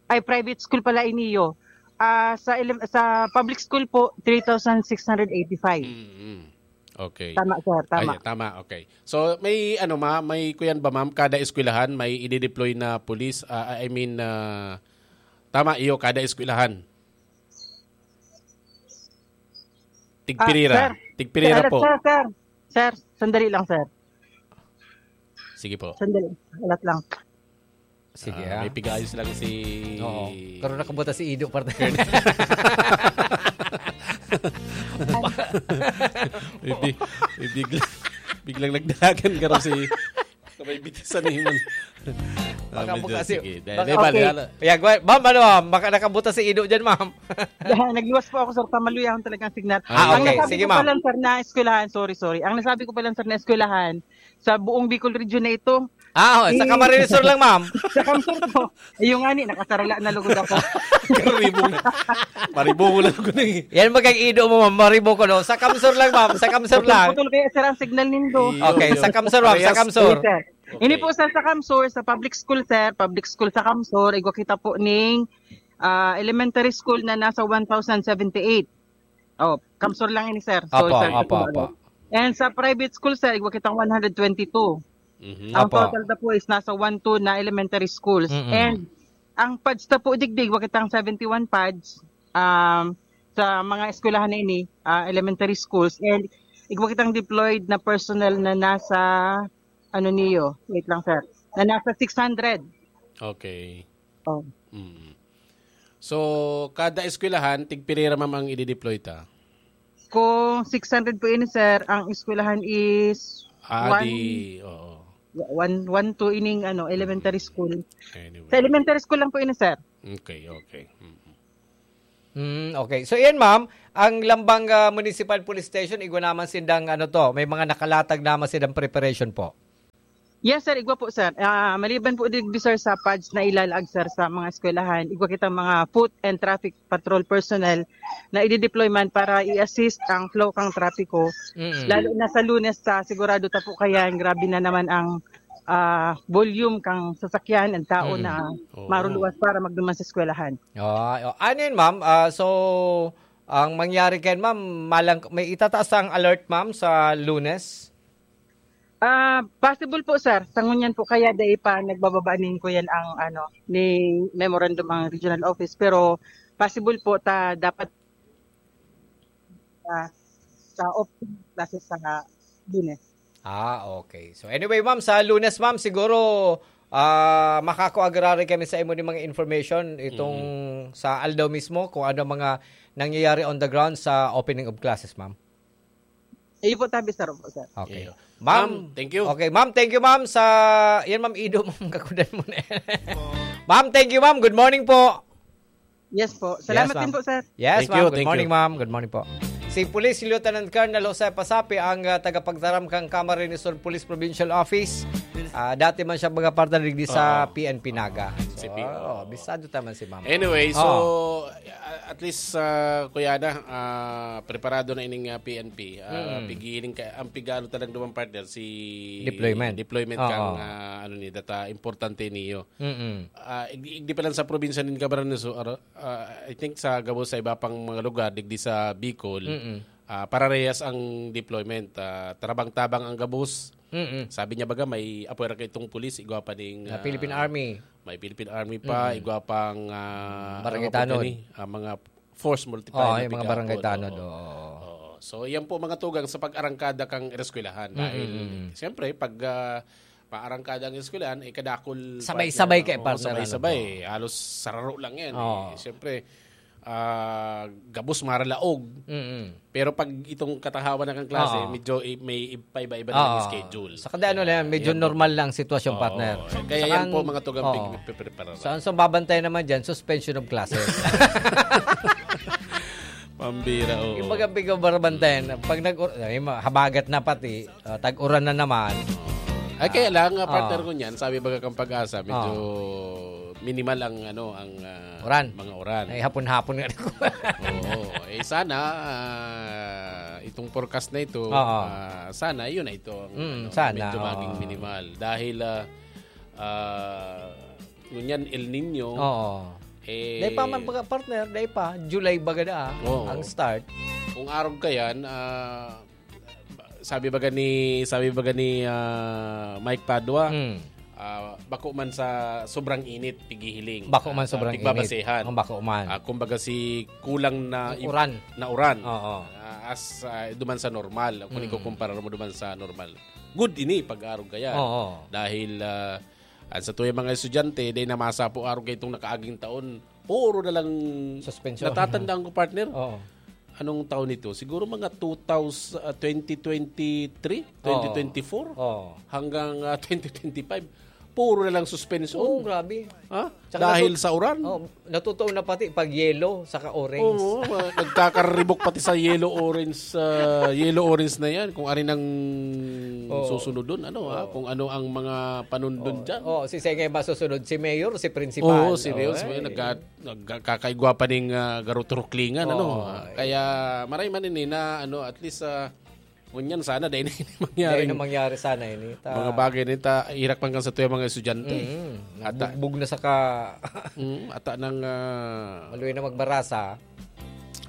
ay, private school pala iniyo. Ah, sa elem-, sa public school po, three thousand six hundred eighty-five. Mm-mm. Okay. Tama, sir. Tama. Ay, tama. Okay. So, may ano, ma-, may kuyan ba, ma'am? Kada eskwelahan, may i-deploy na police? Ah, I mean, ah, tama, iyo, kada eskwelahan. Tigpirira. Ah, sir. Tigpirira Sir, po. sir, sir. Sir, sandali lang, sir. Sige po. Sandali. Alat lang. Sige, Ah, ah. may pigayos lang si Oo. Pero nakabuta si Ido, partner. May bi-, may bigla-, biglang nagdalagan ka raw si Sabay bitisan ni Iman. Baka Ah, po medyo, kasi, sige. Dahil baka may bali, Okay. ano? Ayan, gwa-, ma'am, ano, ma'am? Baka nakabuta si Ido dyan, ma'am. Yan, nagluwas po ako, sir. Tamaluyahan talaga ang signal. Ah, Ang okay. nasabi Sige, ko ma'am. pa lang, sir, na eskwelahan, sorry, sorry. Ang nasabi ko pa lang, sir, na eskwelahan, sa buong Bicol region na ito, Ah, oh, sa Eh, Camarines Sur lang, ma'am. sa Camsur po. Yung ani, nakasarala na lugod ako. Karibong. Maribong lang ko na eh. Yan, magkaido mo, ma'am. Maribong ko, no? Sa Camsur lang, ma'am. Sa Camsur lang. Putol-putol kaya, sir, ang signal nindo. Iyo, Okay, iyo. sa Camsur, ma'am. Sa Parehas. Camsur. Yes, sir. Okay. Ini po, sir, sa Camsur, sa public school, sir, public school sa Camsur, igwa kita po ning, ah, elementary school na nasa one thousand seventy-eight. Oh, Camsur lang ini, sir. So, Opo, sir, opo, ito, opo. And sa private school, sir, igwa kitang one hundred twenty-two. Mhm. Ang Opo. total na po is nasa one two na elementary schools. Mm-mm. And ang pads na po, digdig, igwa kitang seventy-one pads, um, sa mga eskwelahan na ini, ah, elementary schools. And igwa kitang deployed na personnel na nasa, ano niyo, wait lang, sir, na nasa six hundred. Okay. Oh. Mm. So, kada eskwelahan, tigpirira, ma'am, ang i-deploy ta? Kung six hundred po ini, sir, ang eskwelahan is Ah, one, di, oo. one, one, two ining, ano, elementary school. Anyway. Sa elementary school lang po ini, sir. Okay, okay. Mm. Mm, okay. So, yan, ma'am, ang Lambang, ah, Municipal Police Station, igwa naman sindang, ano to, may mga nakalatag naman sindang preparation po. Yes, sir. Igwa po, sir. Ah, maliban po digdi, sir, sa pads na ilalaag, sir, sa mga eskwelahan, igwa kitang mga foot and traffic patrol personnel na i-deploy man para i-assist ang flow kang trapiko. Mm. Lalo na sa Lunes, sa sigurado ta po kayan, grabe na naman ang, ah, volume kang sasakyan, ang tao Mm. na Oo. maruluwas para magduman sa eskwelahan. Ah, o, ano yun, ma'am? Ah, so, ang mangyari kayan, ma'am, malang-, may itataas ang alert, ma'am, sa Lunes? Ah, possible po, sir. Sa ngunyan po, kaya dai pa nagbababa nin kuyan ang, ano, ni memorandum ang regional office. Pero possible po ta dapat, ah, sa open classes sa Lunes. Ah, okay. So anyway, ma'am, sa Lunes, ma'am, siguro, ah, makakua giraray kami sa imo ni mga information itong Mm. sa aldaw mismo, kung ano mga nangyayari on the ground sa opening of classes, ma'am. Iyo po, tabi, sir po, sir. Okay. Iyo. Ma'am, Ma'am, thank you. Okay, ma'am, thank you, ma'am, sa, yan, ma'am, ido, ma'am, kakudan mo na yan. Ma'am, thank you, ma'am. Good morning po. Yes po. Salamat Yes, ma'am. din po, sir. Yes, Thank ma'am. you, Good thank morning, you. ma'am. Good morning po. Si Police Lieutenant Colonel Jose Pasapi ang, ah, tagapagtaram kan Camarines Sur Police Provincial Office. Ah, dati man siya mga partner digdi sa Ah. P N P Naga. Ah, So, C P O. oh, bisado taman si ma'am. Anyway, so, Oh. uh, at least, uh, Kuya Ana, uh, preparado na ining, uh, P N P. Uh, Mm. pigiling ka, ang pigano talagang duman, partner, si Deployment. deployment Oo. kang, uh, ano ni, data importante niyo. Mm-mm. Ah, igdi, igdi pa lang sa probinsya nin Camarines Sur, ah, ah, I think sa gabos sa iba pang mga lugar, digdi sa Bicol, Mm-mm. ah, pararehas ang deployment. Ah, tabang-tabang ang gabos. Mm-mm. Sabi niya baga, may apwera kaitong pulis, igwa pa ning, Na ah, Philippine Army. may Philippine Army pa, Mm-mm. igwa pang, ah, Barangay ano pa Tanod. kani? Ah, mga force multiplier Oo, na yung mga piga-, barangay oo, Tanod, oo. oo. Oo. So, yan po mga tugang sa pag-arangkada kang eskwelahan. Mm-mm. Dahil, siyempre, pag, ah, paarangkada ang eskwelahan, eh, kadakol, Sabay-sabay partner, kay oo, partner, ano sabay-sabay. po. Halos sararo lang yan, Oo. eh. Siyempre, ah, gabos maralaog. Mm-mm. Pero pag itong katahawan na kang klase, Oo. medyo i-, may i-, paiba-iba na yung Oo. schedule. Saka di ano lang yan, medyo Yan po. normal lang sitwasyon, Oo. partner. Kaya Saka yan po, ang, mga tugang oo. pig-, pigpreparar. Sa, sa babantay naman dyan, suspension of classes. Pambira, oo. Yung pag-, pag-, barabantayan, pag nag-, ay, ma-, habagat na pati, ah, tag-uran na naman. Ay, kaya lang, ah, partner Ah. ko niyan, sabi baga kang Pag-asa, medyo Ah. minimal ang, ano, ang, ah, Uran. mga uran. Ay, hapon-hapon nga ako. Oo. Eh, sana, ah, itong forecast na ito, Oo. ah, sana, yun na ito ang, Mm, ano, sana, medyo maging oo. minimal. Dahil, ah, ah, ngunyan, El Niño, Oo. eh, Dahil pa man baga, partner, dahil pa, July baga na, ah, Oo. ang start. Kung arog ka yan, ah, sabi baga ni, sabi baga ni, ah, Mike Padua, Hmm. ah, bako man sa sobrang init, pighihiling. Bako man Ah, sobrang init. pigbabasehan. Ang bako man. Ah, kumbaga si kulang na Ang ib-, uran. na uran. Oo. Ah, as, ah, duman sa normal. Kung Hmm. ikukumpara mo duman sa normal. Good ini, pag-arog kaya. Oo. Dahil, ah, ang sa tuyang mga estudyante, dahil namasa po arog kayo itong nakaaging taon, puro na lang Suspension. natatandaan ko, partner. Oo. Anong taon ito? Siguro mga two thousand, ah, twenty twenty-three, Oo. twenty twenty-four, Oo. hanggang, ah, twenty twenty-five. Puro na lang suspension. Oo, grabe. Ha? Tsaka Dahil natu-, sa uran? oh, natutuon na pati pag yellow, saka orange. Oo, ma-, nagkakaribok pati sa yellow orange, ah, yellow orange na yan. Kung ari nang Oo. susunod dun, ano, ha? Oo. Kung ano ang mga panundon Oo. dyan. Oo, si Sengay masusunod, si Mayor, si Principal. Oo, si Mayor, Oo, si Mayor, eh. nagka-, nagkakaigwa pa ning, ah, garo turuklingan, ano? Oo, Ah, eh. kaya maray man ini na, ano, at least, ah, ngunyan sana, dahil na ini mangyari. Dahil na mangyari sana ini. Ta- Mga bagay na ito, irak man kan sa tuya mga estudyante. Mm, Ata- nagbugbog na sa ka- Mm, ata nang, ah, Maluwi na magbarasa.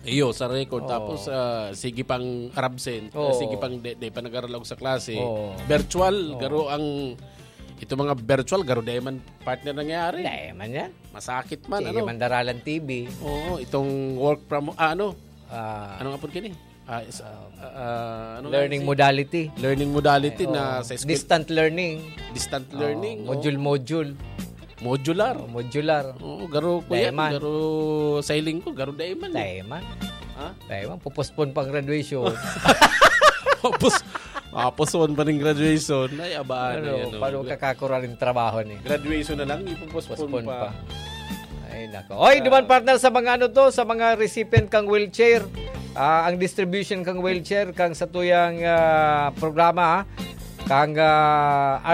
Iyo, sa record. Oo. Tapos, ah, sige pang absent, ah, Oo. sige pang de, de pa nag-aralaog sa klase. Oo. Virtual, Oo. garo ang, ito mga virtual, garo dai man partner nangyari. Dai man yan. Masakit man, Sige ano? man daralan T V. Oo, itong work from, ah, ano? Ah, Anong apod kini? Ah, is, ah, ah, ano nga Learning si modality. Learning modality Eh, na oo. sa eskwel- Distant learning. Distant Oo, learning, oh. module-module. Modular. Oo, modular. Oo, garo ko Dai yan. man. Garo sa hiling ko, garo dai man, eh. Dai man. Ha? Ay, man, pupuspon pang graduation. Tapos, mapuspon pa rin graduation. Ay, abaan na Ano, yan. Oh. paano kakakura ng trabaho ni? Graduation na lang, ipupuspon Postpone pa. pa. Ay, nako. Oy, duman partner sa mga ano to, sa mga recipient kang wheelchair. Ah, ang distribution kang wheelchair, kang sa tuyang ah, programa, ha? Kang ah,